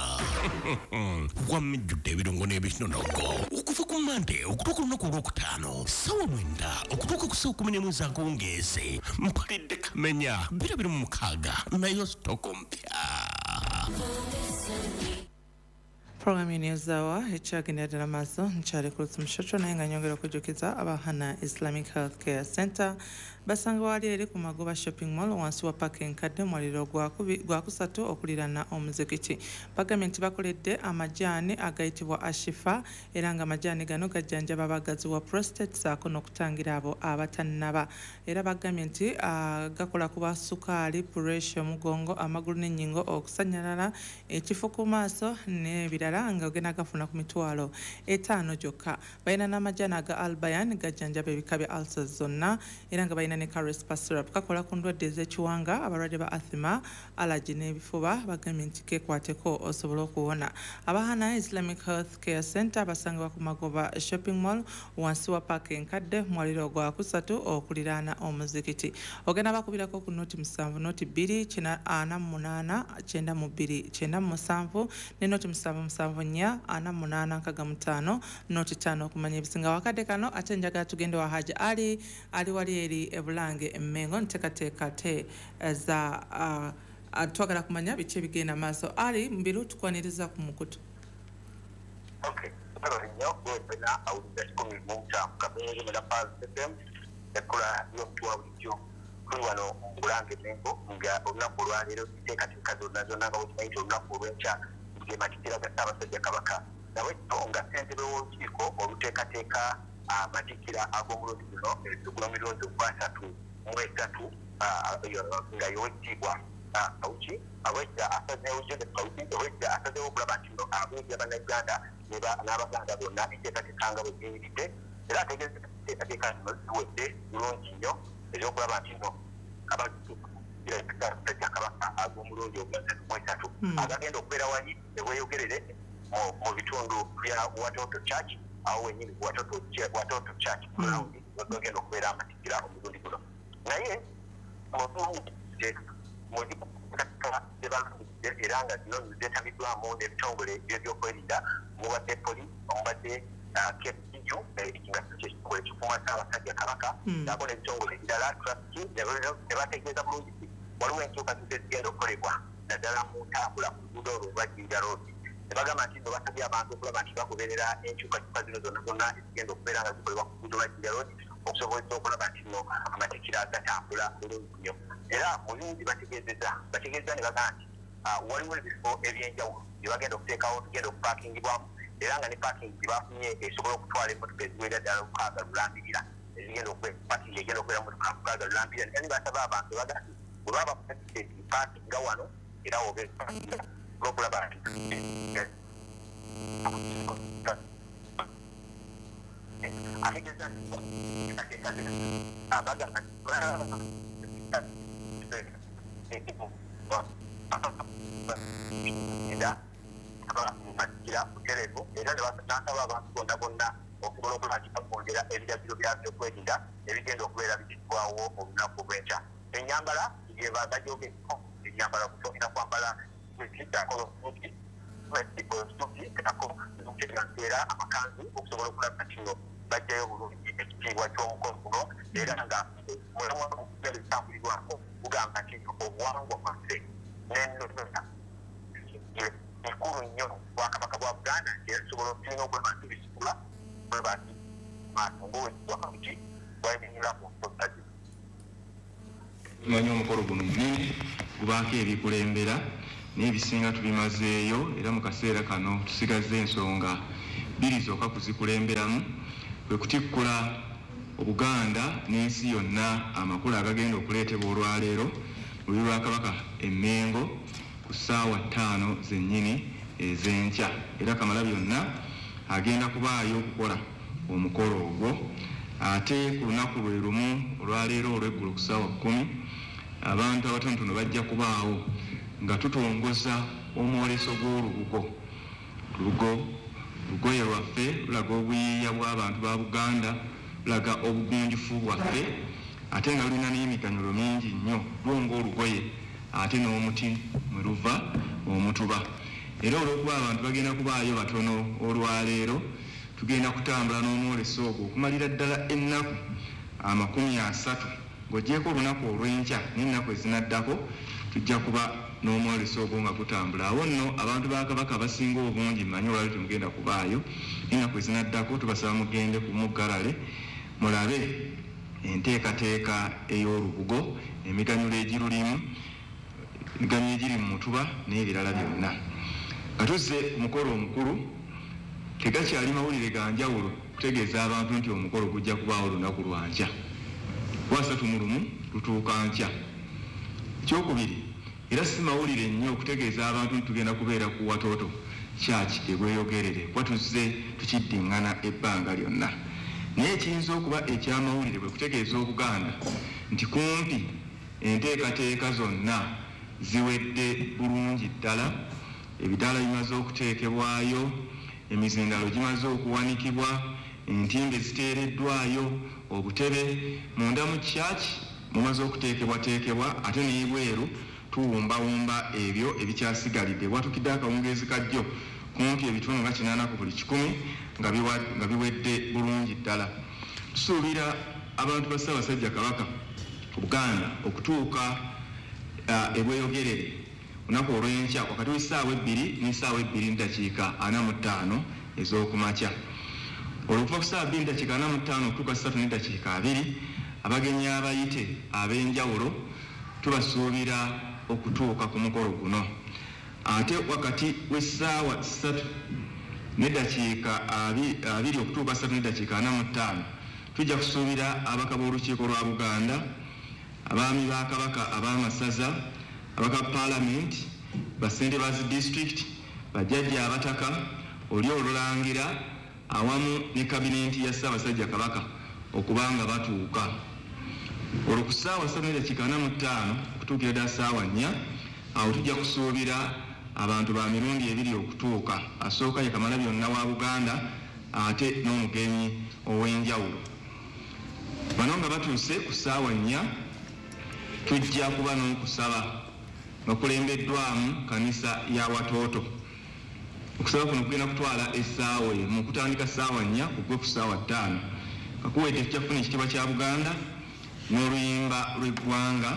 wamijjudde ebirungo n'ebinonogo okuva ku Mande okutuuka olunaku olwokutaano ssaawa mwenda okutuuka ku ssaawa kumi n'emu ez'akawungeezi. Mpulidde kamenya bbiri abiri mu mukaaga nayo sitoko mpya. Programu News Hour ekyagenda ddala maaso. Nkyali ku Lutsimushotro, naye nga nyongera okujjukiza Abahana Islamic Healthcare Center basanga wali eri ku Magoba Shopping Mall wansi wa paaka enkadde mwaliro gwakusatu okuliraana omuzikiti. Bagambye nti bakoledde amajaani agayitibwa Ashifa era nga amajaani gano gajjanjaba abagazi wa prostate saako n'okutangira abo abatannaba. Era bagambye nti gakola ku ba sukaali, puresha, omugongo, amagulu n'ennyingo, okusannyalala, ekifo ku maaso n'ebirala nga ogenda gafuna ku mitwalo etaano gyokka. Balina n'amajaani aga Albayan gajjanjaba ebika bya ulcers zonna era nga balina ne Carespa syrup kakola ku ndwadde ez'ekiwanga, abalwadde ba asthma, allergy n'ebifuba. Bagambye nti keekwateko osobola okuwona. Abahana Islamic Health Care Center basangibwa ku Magoba Shopping Mall wansi wa paaka enkadde mwaliro gwa kusatu okuliraana omuzikiti. Ogenda bakubirako ku noti musanvu noti bbiri ana mu munaana kyenda mu bbiri kyenda mu musanvu ne noti musanvu musanvu nnya ana mu munaana nkaaga mu ttaano noti ttaano okumanya ebisinga. Wakadde kano ate njagala tugende wa Haji Ali ali wali eri ebulange emmengo nteekateeka te za uh, twagala kumanya biki ebigenda maaso. Ali mbiru tukwaniriza ku mukutu. Okay, nnyo gwena awulira kikumi mu musanvu kabeere mu Pulse F M ekkula y'omuntu wa bulijjo. Tuli wano mu Bulange Emmengo nga olunaku olwaleero enteekateeka zonna zonna nga bwekimanyi nti olunaku olw'enkya ge matikkira ga Ssaabasajja Kabaka. Nabwekyo nga ssentebe w'olukiiko oluteekateeka amatikkira ag'omulundi guno ogw'emirundi ogwasatu mu esatu nga y'owekitiibwa Kawuki abwekita asazeewo Joseph Kawuki owekita asazeewo okulaba nti nno abuulira Bannayuganda n'Abaganda bonna enteekateeka nga bwe ziyimiridde era ategeeza enteekateeka zino ziwedde bulungi nnyo ez'okulaba nti nno Ssaabasajja Kabaka ag'omulundi ogwasatu mu esatu agagenda okubeera wali eweeyogerere mu bitundu bya Watoto Church awo wennyini Watoto Watoto Church ground wagenda okubeera amatikkira omulundi guno. Naye era nga zino zeetabiddwamu n'ebitongole by'ebyokwerinda mubadde poliisi, omubadde K P U nga kyekitongole kikuuma Ssaabasajja Kabaka saako n'ebitongole ebirala traffic ne bategeeza bulungi nti waliwo enkyukakyuka ezigenda okukolebwa naddala mu ntambula ku luguudo olwo olwa Jinja Road. Ne bagamba nti nno basabye abantu okulaba nti bagoberera enkyukakyuka zino zonna zonna ezigenda okubeera nga zikolebwa ku luguudo lwa Jinja Road okusobozesa okulaba nti nno amatikkira gatambula bulungi nnyo. Era mu bingi bategeezezza bategeezezza ne bagamba nti waliwo ebifo ebyenjawulo bye bagenda okuteekawo bigenda okupaakingibwamu era nga ne paakingi gye bafunye esobola okutwala emmotoka eziwerera ddala lukaaga lulambirira ezigenda paakingi egenda okubeera mmotoka lukaaga lulambirira. Naye basaba abantu bagamba nti bwe baba bakutegedde paakinga wano era obe olw'okulaba nti ategeeza nti abagamba nti Amatikkira butereevu, era n'asaba abantu bonna bonna okusobola okuba nti bakwongera ebiragiro bya byokwerinda ebigenda okubeera biggibwawo olunaku lw'enkya. Ennyambala gyebagyogerako, ennyambala olina kwambala era amakanzu okusobola okulaba nti no bajjayo bulungi ekitiibwa ky'omukolo guno, era nga bitambulirwako bugamba nti obuwangwa bwaffe n'ennono bikulu nnyo Bwakabaka bwa Buganda, era tusobola tulina okulaba nti bisikula bweba nti maaso ng'owekiti bwayimirira ku nsonga zino. Tumanyi omukolo guno munene, gubaako ebikulembera n'ebisinga tubimazeeyo, era mu kaseera kano tusigazza ensonga bbiri zokka kuzikulemberamu, kwe kutikkula Obuganda n'ensi yonna amakulu agagenda okuleetebwa olwaleero mu lubiri lwa Kabaka e Mmengo ku ssaawa ttaano zennyini ez'enkya, era Kamalabyonna agenda kubaayo okukola omukolo ogwo. Ate ku lunaku lwe lumu olwaleero olw'eggulo ku ssaawa kkumi, abantu abatonotono bajja kubaawo nga tutongoza omwoleso gw'olubugo. Lugo lugoye lwaffe lulaga obuyiiya bw'abantu ba Buganda, lulaga obugunjufu bwaffe, ate nga lulina n'emiganyulo mingi nnyo, lwonga olugoye ate n'omuti mwe luva omutuba. Era olw'okuba abantu bagenda kubaayo batono olwaleero, tugenda kutambula n'omwoleso ogwo okumalira ddala ennaku amakumi asatu, ng'oggyeeko olunaku olw'enkya n'ennaku ezinaddako tujja kuba n'omwoleso ogwo nga gutambula. Awo nno abantu ba Kabaka abasinga obungi mmanyi olwaleero temugenda kubaayo, n'ennaku ezinaddako tubasaba mugende ku muggalale mulabe enteekateeka ey'olubugo, emiganyulo egirulimu, emiganyulo egiri mu mutuba n'ebirala byonna. Nga tuzze ku mukolo omukulu, tegakyali mawulire ga njawulo kutegeeza abantu nti omukolo gujja kubaawo olunaku lwa nkya, lwasatu mu lumu lutuuka nkya. Ekyokubiri, era si mawulire nnyo okutegeeza abantu nti tugenda kubeera ku Watoto Church e Bweyogerere, kuba tuzze tukiddiŋŋana ebbanga lyonna. Naye ekiyinza okuba ekyamawulire bwe kutegeeza Obuganda nti kumpi enteekateeka zonna ziwedde bulungi ddala, ebidaala bimaze okuteekebwayo, emizindalo gimaze okuwanikibwa, entimbe ziteereddwayo, obutebe munda mu church mumaze okuteekebwateekebwa, ate n'ebweru tuwumbawumba ebyo ebikyasigalidde. Bwatukidde akawungeezi kajjo kumpi ebitundu nga kinaana ku buli kikumi nga biwedde bulungi ddala. Tusuubira abantu ba Ssaabasajja Kabaka Buganda okutuuka e Bweyogerere olunaku olw'enkya wakati w'essaawa ebbiri n'essaawa ebbiri n'eddakiika ana mu ttaano ez'okumakya. Olwo okuva ku ssaawa bbiri n'eddakiika ana mu ttaano okutuuka ssatu n'eddakiika abiri, abagenyi abayite ab'enjawulo tubasuubira okutuuka ku mukolo guno. Ate wakati w'essaawa ssatu n'eddakiika abiri okutuuka ssatu n'eddakiika ana mu ttaano, tujja kusuubira ababaka b'Olukiiko lwa Buganda, abaami ba Kabaka ab'amasaza, abaka paalamenti, bassentebe ba zi disitulikiti, bajjajja abataka, oli olulangira awamu ne kabinenti ya Ssaabasajja Kabaka okuba nga batuuka. Olwo ku ssaawa ssatu n'eddakiika ana mu ttaano okutuukira ddala ssaawa nnya, awo tujja kusuubira abantu ba mirundi ebiri okutuuka. Asooka ye Kamalabyonna wa Buganda ate n'omugenyi ow'enjawulo. Bano nga batuuse ku ssaawa nnya, tujja kuba n'okusaba nga kulembeddwamu kanisa ya Watoto. Okusaba kuno kugenda kutwala essaawa emu, kutandika ssaawa nnya kugwe ku ssaawa ttaano. Kakuwedde tujja kufuna ekitiibwa kya Buganda n'oluyimba lw'eggwanga,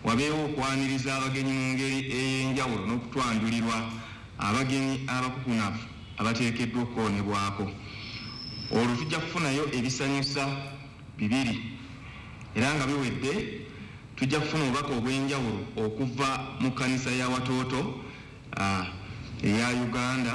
wabeewo okwaniriza abagenyi mu ngeri ey'enjawulo n'okutwanjulirwa abagenyi abakukunavu abateekeddwa okukoonebwako. Olwo tujja kufunayo ebisanyusa bibiri, era nga biwedde tujja kufuna obubaka obw'enjawulo okuva mu kkanisa ya Watoto eya Uganda.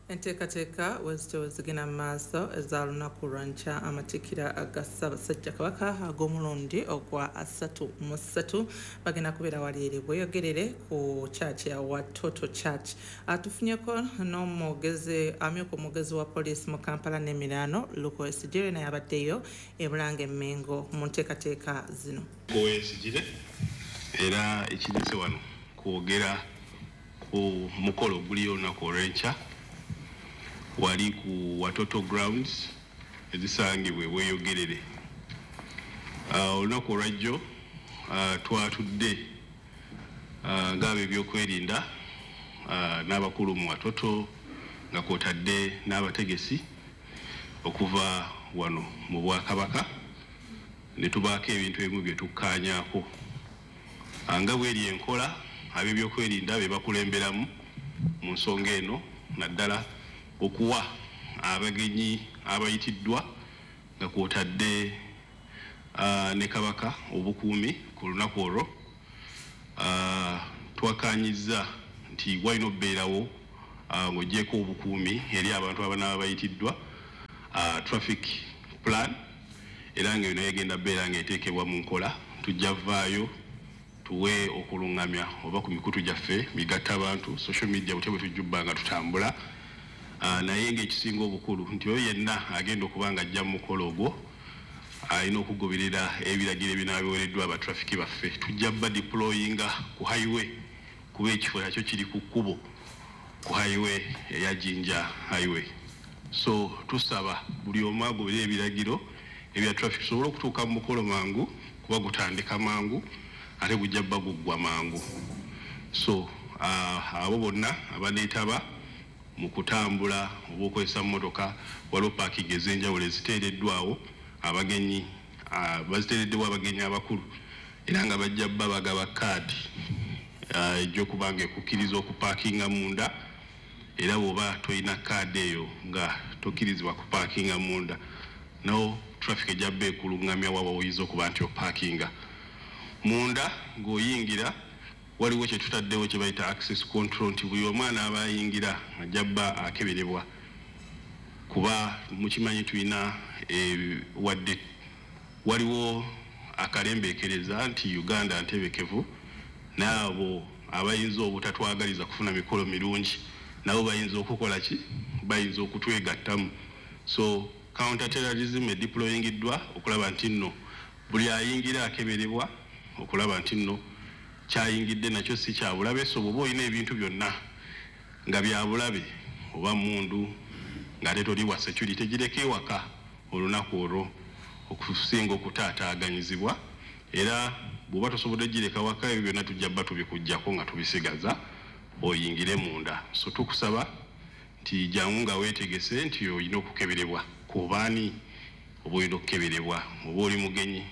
Enteekateeka wezityo zigenda mu maaso eza lunaku lwa nkya, amatikkira aga Ssaabasajja Kabaka ag'omulundi ogwa asatu mu ssatu bagenda kubeera wali eri Bweyogerere ku church ya Watoto Church. Atufunyeko n'omwogezi amyuka omwogezi wa poliisi mu Kampala n'emiriraano Luke Owoyesigyire, naye abaddeyo e Bulange e Mmengo mu nteekateeka zino. Owoyesigyire era ekirese wano kwogera ku mukolo oguliyo olunaku olw'enkya Wali ku Watoto Grounds ezisangibwa Bweyogerere. Olunaku olwajjo twatudde ng'ab'ebyokwerinda n'abakulu mu Watoto nga kwotadde n'abategesi okuva wano mu Bwakabaka ne tubaako ebintu ebimu bye tukkaanyaako. Nga bweri enkola, ab'ebyokwerinda be bakulemberamu mu nsonga eno, naddala okuwa abagenyi abayitiddwa nga kwotadde ne Kabaka obukuumi ku lunaku olwo. Twakkaanyizza nti walina okubeerawo, ng'oggyeko obukuumi eri abantu abanaaba bayitiddwa, traffic plan, era nga eno egenda bbeera ng'eteekebwa mu nkola. Tujja vaayo tuwe okuluŋŋamya oba ku mikutu gyaffe migatta abantu, social media, butya bwe tujjubba nga tutambula. Naye ng'ekisinga obukulu nti oyo yenna agenda okuba nga ajja mu mukolo ogwo alina okugoberera ebiragiro ebinaaba biweereddwa abatrafiki baffe. Tujja bba deployinga ku highway, kuba ekifo nakyo kiri ku kkubo ku highway eya Jinja Highway. So tusaba buli omu agoberere ebiragiro ebya traffic tusobole okutuuka mu mukolo mangu, kuba gutandika mangu ate gujja bba guggwa mangu. So abo bonna abaneetaba mu kutambula oba okukozesa mmotoka, waliwo parking ez'enjawulo eziteereddwawo abagenyi, baziteereddwa abagenyi abakulu, era nga bajja bba bagaba kaadi ejja okuba nga ekukkiriza okupaakinga munda. Era bw'oba tolina kaadi eyo nga tokkirizibwa kupaakinga munda, nawo traffic ejja bba ekuluŋŋamya waba oyinza okuba nti opaakinga munda. Ng'oyingira waliwo kye tutaddewo kye bayita access control, nti buli omwana aba ayingira ajja bba akeberebwa, kuba mukimanyi tulina wadde waliwo akalembeekereza nti Uganda ntebekevu, n'abo abayinza obutatwagaliza kufuna mikolo mirungi nabo bayinza okukola ki, bayinza okutwegattamu. So counter terrorism edeployingiddwa okulaba nti nno buli ayingira akeberebwa, okulaba nti nno kyayingidde nakyo si kyabulabe. So bw'oba olina ebintu byonna nga byabulabe oba mundu ng'ate toli wa security, gireke ewaka olunaku olwo okusinga okutaataaganyizibwa. Era bw'oba tosobodde gireka waka, ebyo byonna tujja bba tubikuggyako nga tubisigaza oyingire munda. So tukusaba nti jangu nga weetegese nti olina okukeberebwa kubaani oba olina okukeberebwa, oba oli mugenyi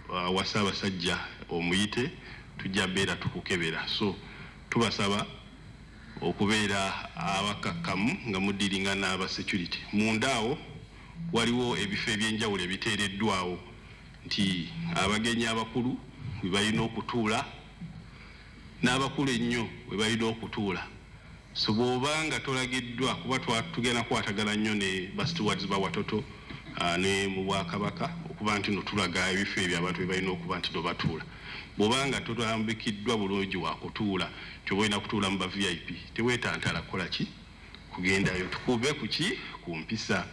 wa Ssaabasajja omuyite, tujja bbeera tukukebera. So tubasaba okubeera abakakkamu nga mudiringa n'aba security. Munda awo waliwo ebifo ebyenjawulo ebiteereddwawo nti abagenyi abakulu we balina okutuula n'abakulu ennyo we balina okutuula. So bw'oba nga tolagiddwa, kuba tugenda kukwatagana nnyo ne ba stewards ba Watoto ne mu Bwakabaka okuba nti no tulaga ebifo ebyo abantu be balina okuba nti no batuula. Bw'oba nga totambikiddwa bulungi wakutuula, nti oba olina kutuula mu ba V I P, teweetantala kukola ki, kugendayo. Tukube ku ki, ku mpisa.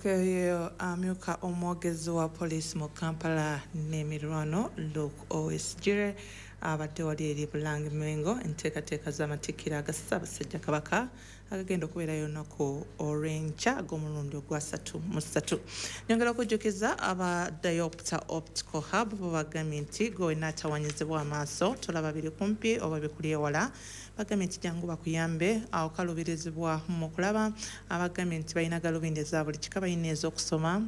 Oyo amyuka omwogezi wa poliisi mu Kampala n'emirwano Luke Owoyesigyire abadde wali eri Bulange Mmengo enteekateeka z'amatikkira aga Ssaabasajja Kabaka agagenda okubeerayo olunaku olw'enkya ag'omulundi ogwa ssatu mu ssatu. Nyongera okujjukiza aba Diopter Optical Hub bo bagambye nti gwe wenna atawanyizibwa amaaso tolaba biri kumpi oba bikuli ewala, bagambye nti jangu bakuyambe awo kaluubirizibwa mu kulaba. Abagambye nti balina galubindi eza buli kika, balina ez'okusoma,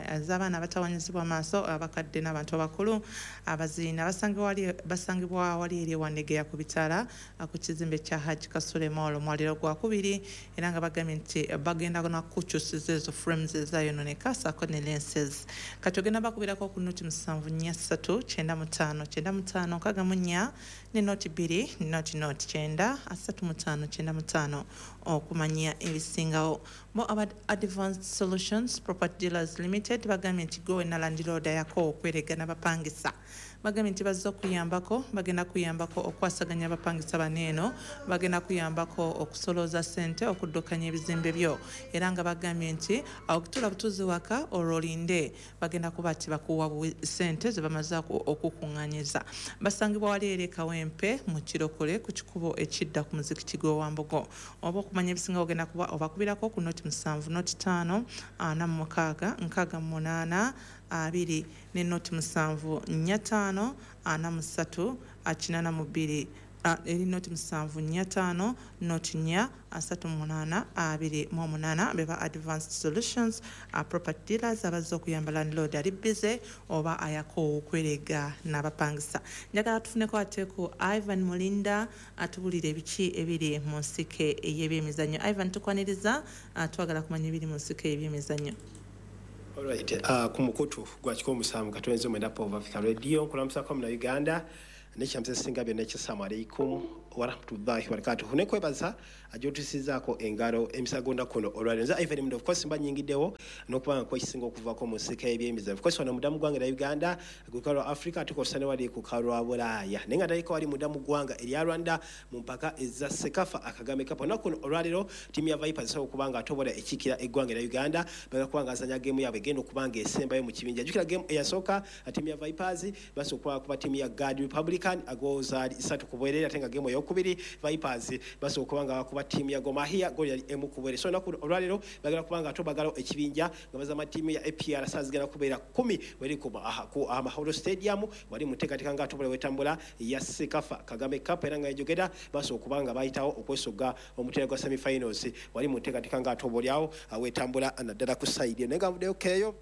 ez'abaana abatawanyizibwa amaaso, abakadde n'abantu abakulu abaziina. Basangibwa wali eri Wandegeya ku bitaala ku kizimbe kya Haji Kasule Mall omwaliro gwa kubiri, era nga bagambye nti bagenda nakukyusiza ezo frames ezayonooneka ssaako ne lenses. Kati ogenda bakubirako ku noti musanvu nnya ssatu kyenda mu ttaano kyenda mu ttaano nkaaga mu nnya ne noti bbiri noti noti kyenda asatu mu ttaano kyenda mu ttaano okumanya ebisingawo. Bo aba Advanced Solutions Property Dealers Limited bagambye nti gwe wenna landlord yako okweregana bapangisa, Bagambye nti bazze okuyambako, bagenda kuyambako okwasaganya abapangisa bano eno, bagenda kuyambako okusolooza ssente okuddukanya ebizimbe byo, era nga bagambye nti awo kutuula butuuzi waka olwo olinde, bagenda kuba ti bakuwa ssente ze bamaze okukuŋŋaanyiza. Basangibwa wali eri e Kawempe mu Kirokole ku kikubo ekidda ku muzikiti gw'Owambogo. Oba okumanya ebisinga ogenda kuba obakubirako ku noti musanvu noti ttaano ana mu mukaaga nkaaga mu munaana abiri ne noti musanvu nnya ttaano ana mu ssatu kinaana mu bbiri, eri noti musanvu nnya ttaano noti nnya asatu mu munaana abiri mu omunaana. Beba Advanced Solutions Property Dealers abazze okuyamba landlord ali busy oba ayako okwerega n'abapangisa. Njagala tufuneko ate ku Ivan Mulinda atubulire ebiki ebiri mu nsike ey'ebyemizannyo. Ivan, tukwaniriza, twagala kumanya ebiri mu nsike ey'ebyemizannyo. Alright, uh, ku mukutu gwa kikumi musanvu katwenze mwenda Pova Africa Radio nkulamusako muna Uganda nekyamse singa byonna ekisalamu aleikum warahmatullahi wabarakatuh. Nekwebaza ajotusizaako engalo emisagonda kuno olwaleero. Nze Ivan Mundo, of course mba nyingiddewo n'okuba nga kwekisinga okuvaako mu nsika y'ebyemizannyo. Of course wano munda mu ggwanga erya Uganda, ku lukalu lwa Africa, tukozesa ne wali ku lukalu lwa Bulaaya, naye nga ndaliko wali munda mu ggwanga erya Rwanda mu mpaka eza Sekafa Akagame Cup. Olunaku kuno olwaleero ttiimu ya Vipers esobola okuba nga atobola ekiikira eggwanga erya Uganda, bagenda kuba nga azannya geemu yaabwe egenda okuba nga esembayo mu kibinja. Jjukira geemu eyasooka ttiimu ya Vipers basobola okuba ttiimu ya Guard Republican agozaali ssatu ku bwereere, ate nga geemu eyokubiri Vipers basobola okuba nga bakuba ttiimu ya Gor Mahia goal yali emu ku bwereere. So olunaku olwaleero bagenda kuba nga tobagalawo ekibinja nga bazama ttiimu ya A P R saa zigenda kubeera kkumi weri ku ku Amahoro Stadium wali mu nteekateeka nga atobola wetambula ya Sekafa Kagame Cup, era nga ejogera basobola okuba nga bayitawo okwesogga omutera gwa semi-finals wali mu nteekateeka nga atobolyawo wetambula naddala ku side. Naye nga nvuddeyo keeyo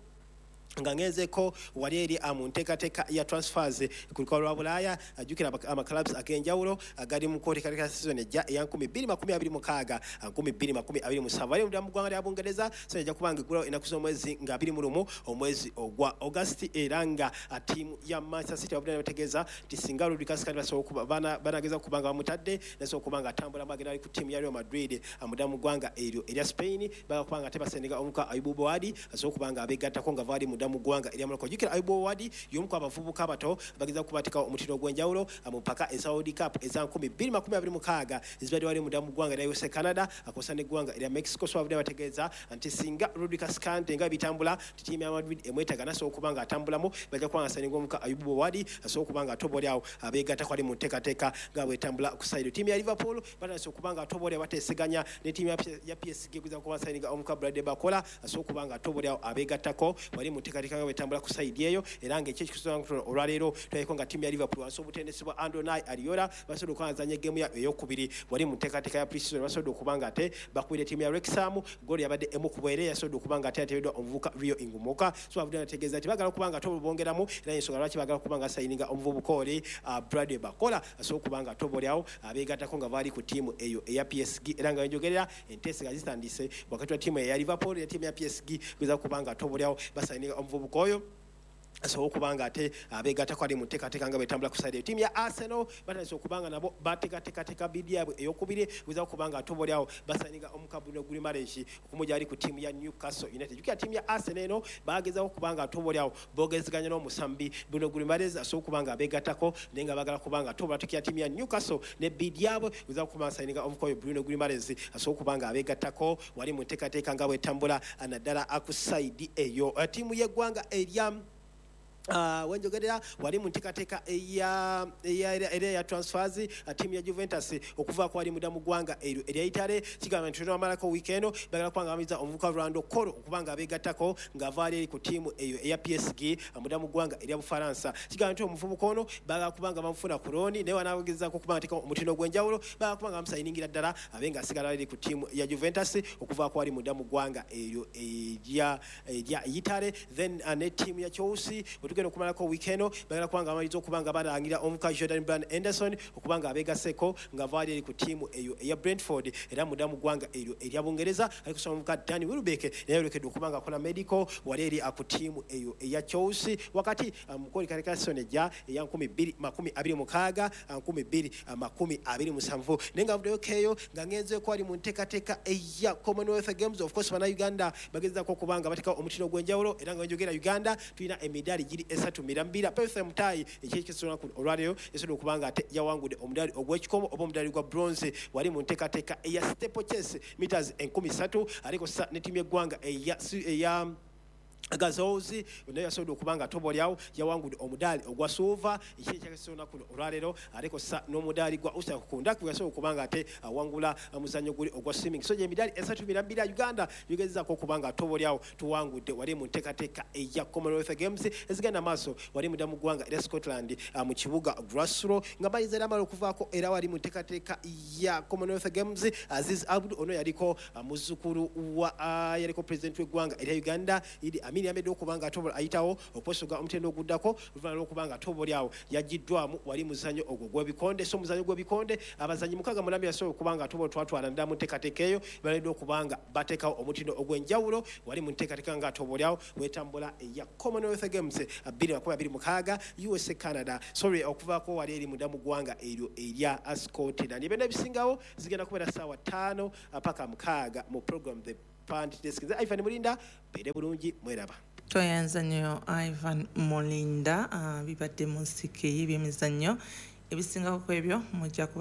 nga ngenzeko wali eri mu nteekateeka ya transfers ku lukalu lwa Bulaaya. Ajjukira amaclubs ag'enjawulo agali mu nteekateeka season ejja eya nkumi bbiri makumi abiri mukaaga nkumi bbiri makumi abiri musanvu. Wali munda mu ggwanga lya Bungereza season ejja kuba nga eggulawo ennaku z'omwezi nga abiri mu lumu omwezi ogwa August, era nga ttiimu ya Manchester City abudde bategeeza nti singa Rodri Cascade basobola okuba banageza okuba nga bamutadde nasobola okuba nga atambulamu agenda ali ku ttiimu ya Real Madrid munda mu ggwanga eryo erya Spain, bagala kuba nga ate basendeka omuka Ayubu Bouadi asobola okuba nga abeegattako nga vaali mu ggwanga erya Morocco. Jjukira Ayubu Bouadi y'omu ku abavubuka abato bageza kubateekawo omutindo ogw'enjawulo mu mpaka eza World Cup eza nkumi bbiri makumi abiri mukaaga ezibadde wali munda mu ggwanga erya U S A, Canada akosa n'eggwanga erya Mexico. So abadde bategeeza nti singa Rodri Cascante nga bitambula nti ttiimu ya Madrid emwetaaga nasobola okuba nga atambulamu, bajja kuba nga asayininga omuka Ayubu Bouadi asobola okuba nga atobolyawo abeegattako ali mu nteekateeka nga bwetambula ku side. Ttiimu ya Liverpool batandise okuba nga atobolya bateeseganya ne ttiimu ya P S G egeza kuba asayininga omuka Bradley Barcola asobola okuba nga atobolyawo abeegattako wali mu nteekateeka nga bwetambula ku side eyo, era ng'ekyo ekikusobola olwaleero tulaliko nga ttiimu ya Liverpool wansi obutendesi bwa Andoni Ariola basobodde okuba nga bazannya geemu yaabwe eyokubiri wali mu nteekateeka ya pre-season, basobodde okuba nga ate bakubira ttiimu ya Wrexham goal yabadde emu ku bwereere, yasobodde okuba nga ate yateebeddwa omuvubuka Rio Ngumoka. So bavudde bategeeza nti baagala okuba nga ate bongeramu, era ensonga lwaki baagala okuba nga sayininga omuvubuka oli Bradley Barcola asobola okuba nga atobolyawo abeegattako nga baali ku ttiimu eyo eya P S G, era nga wenjogerera enteeseganya zitandise wakati wa ttiimu eya Liverpool ne ttiimu ya P S G kugeza okuba nga atobolyawo basayininga omuvubuka oyo asobola okuba nga ate abeegattako ali mu nteekateeka nga bwetambula ku side. Ttiimu ya Arsenal batandise okuba nga nabo bateekateekateeka bidi yaabwe eyokubiri kugeza okuba nga atobolyawo basayininga omuka Bruno Guimaraes okumugya ali ku ttiimu ya Newcastle United. Jjukira ttiimu ya Arsenal eno bagezaako okuba nga atobolyawo boogezeganya n'omusambi Bruno Guimaraes asobola okuba nga abeegattako, naye nga baagala kuba nga atobola tukira ttiimu ya Newcastle ne bidi yaabwe kugeza okuba nga sayininga omuka oyo Bruno Guimaraes asobola okuba nga abeegattako wali mu nteekateeka nga bwetambula naddala ku side eyo. Ttiimu y'eggwanga erya Uh, wenjogerera wali mu nteekateeka eya era ya transfers ttiimu ya Juventus okuva ku wali muda mu ggwanga eryo erya Italy kigamba nti tunamalako wiiki eno bagala kuba nga bamiza omuvubuka Rolando Kolo okuba nga abeegattako ng'ava ali eri ku ttiimu eyo eya P S G muda mu ggwanga erya Bufalansa. Kigamba nti omuvubuka ono bagala kuba nga bamufuna ku looni, naye wanaagezaako okuba nga ateekawo omutindo ogw'enjawulo bagala kuba nga bamusayiningira ddala abe ng'asigala eri ku ttiimu ya Juventus okuva ku wali muda mu ggwanga eryo erya erya Italy. Then uh, ne ttiimu ya Chelsea tugenda okumalako wiiki eno bagala kuba nga bamaliriza okuba nga balangira omuka Jordan Brand Anderson okuba nga abeegasseko nga vaali eri ku ttiimu eyo eya Brentford era munda mu ggwanga eryo erya Bungereza. Ali kusoma omuka Danny Welbeck naye yolekedde okuba nga akola medical wali eri ku ttiimu eyo eya Chelsea. Wakati mukolekateeka season ejja eya nkumi bbiri makumi abiri mukaaga nkumi bbiri makumi abiri musanvu. Naye nga nvuddeyo keeyo nga ngenzeeko ali mu nteekateeka eya Commonwealth Games. Of course bannayuganda bagezaako okuba nga bateekawo omutindo ogw'enjawulo, era nga wenjogera Uganda tulina emidaali giri emibiri esatu mirambira. Perth Mutai ekyekisona olwaleero yasobodde okuba nga ate yawangudde omudaali ogw'ekikomo oba omudaali gwa bronze wali mu nteekateeka eya steeplechase meters enkumi ssatu, aliko sa ne ttiimu y'eggwanga eya eya Gazozi naye yasobodde okuba nga tobolyawo yawangudde omudaali ogwa silver ekyekisona kuno olwaleero, aliko sa n'omudaali gwa Usa Kundaki yasobodde okuba nga ate awangula omuzannyo guli ogwa swimming. So gy'emidaali esatu mirambira Uganda yugezaako okuba nga tobolyawo tuwangudde wali mu nteekateeka eya Commonwealth Games ezigenda maaso wali munda mu ggwanga erya Scotland mu kibuga Glasgow, nga bayinza era amala okuvaako era wali mu nteekateeka ya Commonwealth Games. Aziz Abdu ono yaliko muzzukulu wa yaliko president w'eggwanga erya Uganda Idi Amin yamedde okuba nga atobola ayitawo okwesoga omutendo oguddako oluvannyuma lw'okuba nga atobolyawo yagiddwamu wali muzannyo ogwo gw'ebikonde. So omuzannyo gw'ebikonde abazannyi mukaaga mulambi yasobola okuba nga atobola twatwala ddala mu nteekateeka eyo, baledde okuba nga bateekawo omutindo ogw'enjawulo wali mu nteekateeka nga atobolyawo wetambula eya Commonwealth Games bbiri makumi abiri mukaaga U S A Canada, sorry okuvaako wali eri munda mu ggwanga eryo erya Scotland. Ebyonna ebisingawo zigenda kubeera ssaawa ttaano paka mukaaga mu program The Pant Desk. Ivan Mulinda, beere bulungi, mweraba. Tweyanza nnyo Ivan Mulinda, uh, bibadde mu nsike y'ebyemizannyo ebisingako ku ebyo mujja kuba